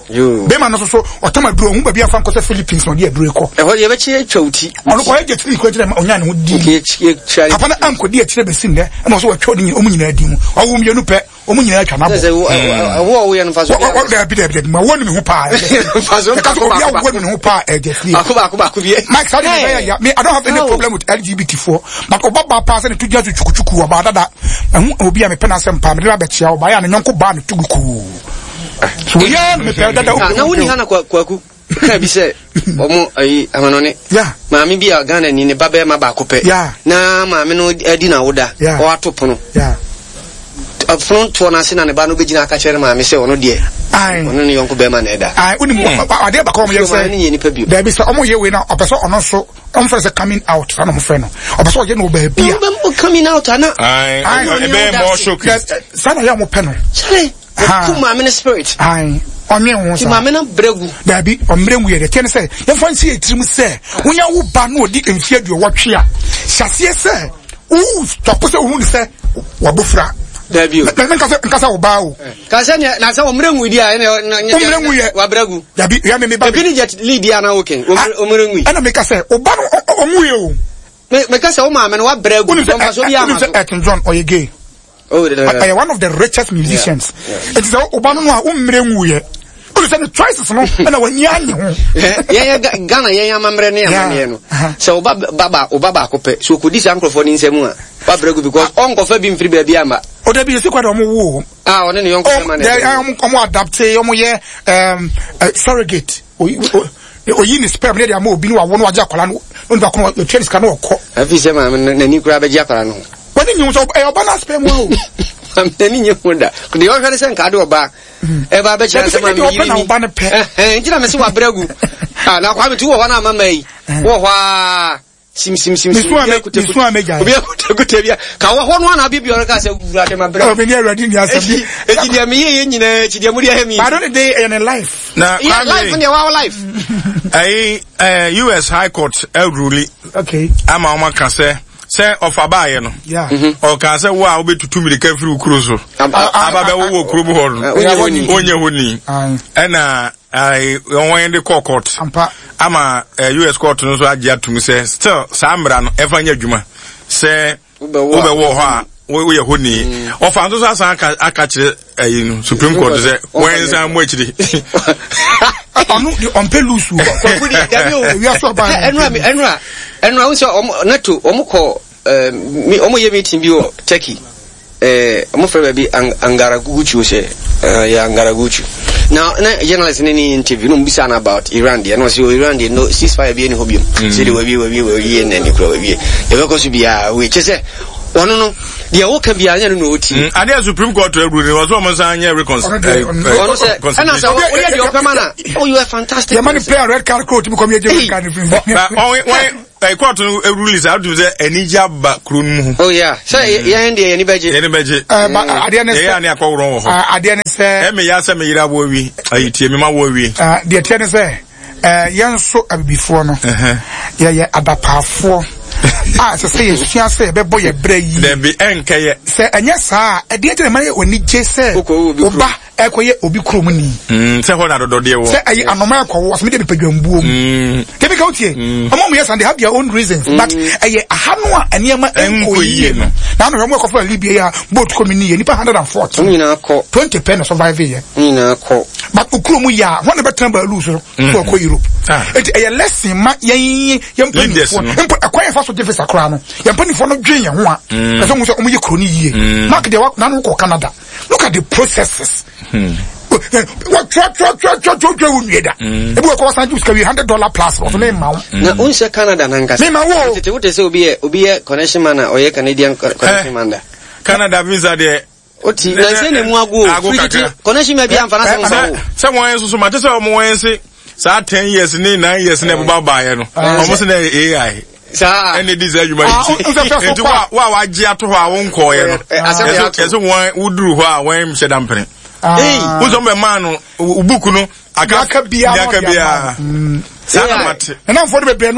Bɛrima no nso so ɔtam aduro ɔhu baabi afa nkɔ sɛ Philippines na ɔde aduro kɔ. Ɛhɔ deɛ ɛbɛkye atwa wo ti. Ɔno kɔyɛ gye tiri kura gyina ɔnya ne ho di. Papa no ankɔdi akyire bɛsi nnɛ ɛna ɔsɛ wɔatwa ɔne ɔmu nyinaa di mu. Ɔwo mmienu pɛ ɔmu nyinaa atwa n'abɔ. Ɛwɔ a woyɛ no mfa so. Dabi dabi dabi ma wɔn ne ho paa. Mfa so Ɛka sɛ obi awɔ ne ho paa ɛgye fie. Baako baako baako bi. Mike saa de ne bɛyɛ ya me I don't have any problem with LGBT foɔ but ɔba ba paa sɛ ne to gyina so twukutuku ɔbaa dada ɛho obi a mepɛ n'asɛm paa mede no abɛkyia ɔbaa yɛ a ne nyɔnko baa ne to gu kuu. So yɛ na mepɛ dada ah, na wonni ha na kwaku ka bi sɛ ɔmo ayi amanɔne maame bi a Ghana ni ne ba bɛrima baako pɛ na maame no adi na awoda ɔato pono pono toɔ no ase na ne ba no bɛgyina aka kyerɛ ne maame sɛ ɔno deɛ ɔno ne yɔnko bɛrima na ɛda wonim hmm. adeɛ baako ɔmo yɛ sɛ daabi sɛ ɔmo yɛ wei na ɔpɛ sɛ ɔno nso ɔmo fɛ sɛ coming out saa na ɔmo fɛ no ɔpɛ sɛ ɔyɛ no wɔ baabi a coming out ana ɛbɛyɛ more shocking saa na yɛ ɔmo pɛ no Ɔku maame no spirit. Ae, ɔnwen ho saa. Ti maame no brɛ gu. Daabi, ɔmmerɛ ngu yɛ deɛ. Tiɛ ne sɛ, yɛmfa nsi yɛ tirim sɛ, wonya wo ba na ɔdi mfeɛ aduɔwɔtwe a, hyɛ aseɛ sɛ, wo stɔpo sɛ wohu ne sɛ wabofra. Daabi o. Mɛ nkasa nkasa wo ba o. Ka sɛ nea na sɛ ɔmmerɛ ngu di a ɛna ɔmmerɛ ngu yɛ. Wabrɛ gu. Dabi, ya me me ba. Ebi ne jet lead a na woken. Ɔmmerɛ ngu. Ɛna meka sɛ, wo ba no ɔngu yɛ o. Me meka sɛ wo maame no wabrɛ agu mfa so bi ama so. Wonim sɛ Elton John ɔyɛ gay. Oh, ɔyɛ one of the richest musicians. Eti sɛ ɔba no no a wo mmerɛ nwuiɛ. Wode sɛ ne choices no ɛna w'ani anye ho. Yɛn Ghana yɛn amammerɛ ne amanneɛ no. Sɛ ɔba ba ɔba baako pɛ sɛ ɔkɔdi saa nkurɔfoɔ no nsam a wabrɛ gu because ɔnkɔfa bi mfiri baabi amma. Ɔda bi yɛsi kwa de ɔmo wo. Ah, ɔne ne yɔnko bɛma na ɛdɛ. Ɔmo adapte ɔmo yɛ surrogate. Oyi ne sperm ne de ama obi ne wawo no wagye akwadaa no na onipa ko no otua ne sika na ɔkɔ. Afi sɛ maame no n'ani koraa bɛgye akwadaa no ho. Wɔne nyi ho sɛ ɛyɛ ɔba no sperm o. Maame n'ani nye ho da. Deɛ ɔhwɛ ne sɛ nka de ɔba ɛba abɛkyerɛ sɛ maame yiri ni. Ɔba no pɛ. Nti na mese wabrɛ agu. Ah, na kwame tu wɔ hɔ na ama ma yi. Wɔ hɔ a. Sim sim sim sim. Misu a megyae. Obi akutakuta bi a ka wɔ hɔ no ana bi bi ɔreka sɛ wura de ma brɛ. Ɔbɛ ni awurade ni asɛm bi. Eti deɛ meyɛ yɛ nyinaa akyi deɛ mo de ayɛ mi. But don't they ɛyɛ ne life. Na yeah, life deɛ wa life. Ɛyi ɛɛ US High Court ɛruli. Okay. Ama wɔn aka sɛ. Sɛ ɔfa baayɛ no, ɔkaa sɛ wo a wobɛtutu mmirika firi wo kuro so aba bɛwo wɔ kurom hɔ no, wonyɛ hɔ ni. Ɛna wɔn de kɔɔ court ama US court no nso agye atum sɛ still saa mmara no ɛfa nyɛ adwuma sɛ wobɛwɔ hɔ a woyɛ hɔ ni. Ɔfa nso so asan aka kyerɛ ɛyi no Supreme Court sɛ wɔn nsan mu akyiri. Ɔno de ɔmpɛ lusu. Kwaku de dabi o. Ewia so ɔbaa. Ɛnura mi ɛnura ɛnura n sɛ ɔmo nato ɔmo kɔ ɛɛ mi ɔmo yɛ meeting bi wɔ Turkey ɛɛ ɔmo fɛ baabi Angaraguchu sɛ ɛɛ yɛ Angaraguchu na na journalist ne ne interview na ɔmo bisa no about Iran deɛ na ɔsɛ o Iran deɛ no ceasefire bi ɛni hɔ biom sɛ de wawie wawie wawie na ɛni kura wawie yɛbɛkɔ so biara wei kyɛ sɛ ɔno no deɛ woka biara nyɛ no na ɔti. Mm, adeɛ Supreme Court awuru ni wɔsɛ wɔn nsan nyɛ reconciliation. Ɔno sɛ ɛna sɛ woyɛ deɛ ɔpɛ ma na oh you are fantastic. Yɛ ma ni player red card kuro tumi kɔm yɛ gye red card firi mu. Wɔn wɔn court no rule saa ɔtum sɛ anigye aba kuro no mu. Oh yeah sɛ yɛn deɛ yɛn ni bɛgye. Yɛn ni bɛgye. Adeɛ ne sɛ yɛn ani akɔworɔ wɔ hɔ. Adeɛ ne sɛ. Ɛmi ya sɛ mi yira wɔ wi ayi tie mi ma wɔ wi. Deɛ tiɛ ne sɛ. Eh, yɛn nso abibifoɔ no, yɛyɛ adapaafoɔ a ɛsɛ sɛ yɛsua sɛ yɛbɛbɔ yɛ berɛ yie. Dabi, ɛnkɛyɛ. Sɛ ɛnyɛ saa a, ɛdeɛ nti na ɛma yɛ w'ani gye sɛ wo ba ɛkɔyɛ obi kurom ni. Mm, sɛ hɔ na dɔdɔdeɛ wɔ. Sɛ ɛyɛ anoma ɛkɔwo, ɔsɛ mede mepɛ dwambuo mu. Mm. Dabi ka wotie, mm. ɔmo ɔmo yɛ san, they have their own reasons, mm. but ɛyɛ aha no a nneɛma ɛnkɔ yie no. Na ano hwɛ ɔmo ɛkɔfɔ Libya yi a boat kɔ mi ni yɛ nipa 140. Ɔmo nyinaa kɔ. 20 pɛ na survive yɛ. Ɔmo nyinaa kɔ. But okuro mu yɛ a, wɔn na bɛtena baalu so. So ɔkɔ Europe. Eti ɛyɛ lesson ma yɛn yɛn mpanyinfoɔ mpo ɛkwan yɛn fa so gye visa koraa no yɛn mpanyinfoɔ no dwen yɛn ho a ɛsɛ wɔn sɛ wɔn yɛ kuro no yie. Mark deɛ nanu kɔ Canada look at the processes. Wɔtwerɛtwerɛtwerɛtwerɛtwerɛ wo nwie da. Ebi wɔ kɔ wɔsan gye sika wi $100 plus wɔso ne ma wo. Na o nsɛ Canada nankasa. Ne ma wo. Tete wote sɛ obi yɛ obi yɛ connection man a ɔyɛ Canadian connection man da. Canada visa deɛ. Oti na nse na mu ago o. Firi tete connection ma bi amfa na sɛ nfa wo. Sɛ wɔn nso so mate sɛ wɔn wɔn se saa 10 years ne 9 years na ɛbɛba baayɛ no wɔn se na AI. Saa. Ɛna edi saa adwuma yi ti nti wa wa wagye ato hɔ a wɔn nkɔɔyɛ no ɛsɛ wɔn woduru hɔ a wɔn hyɛ dampene. Wosɔn bɛ maa no book no aka aka biara biara saa na mate. Ɛnamfoɔ de bebree.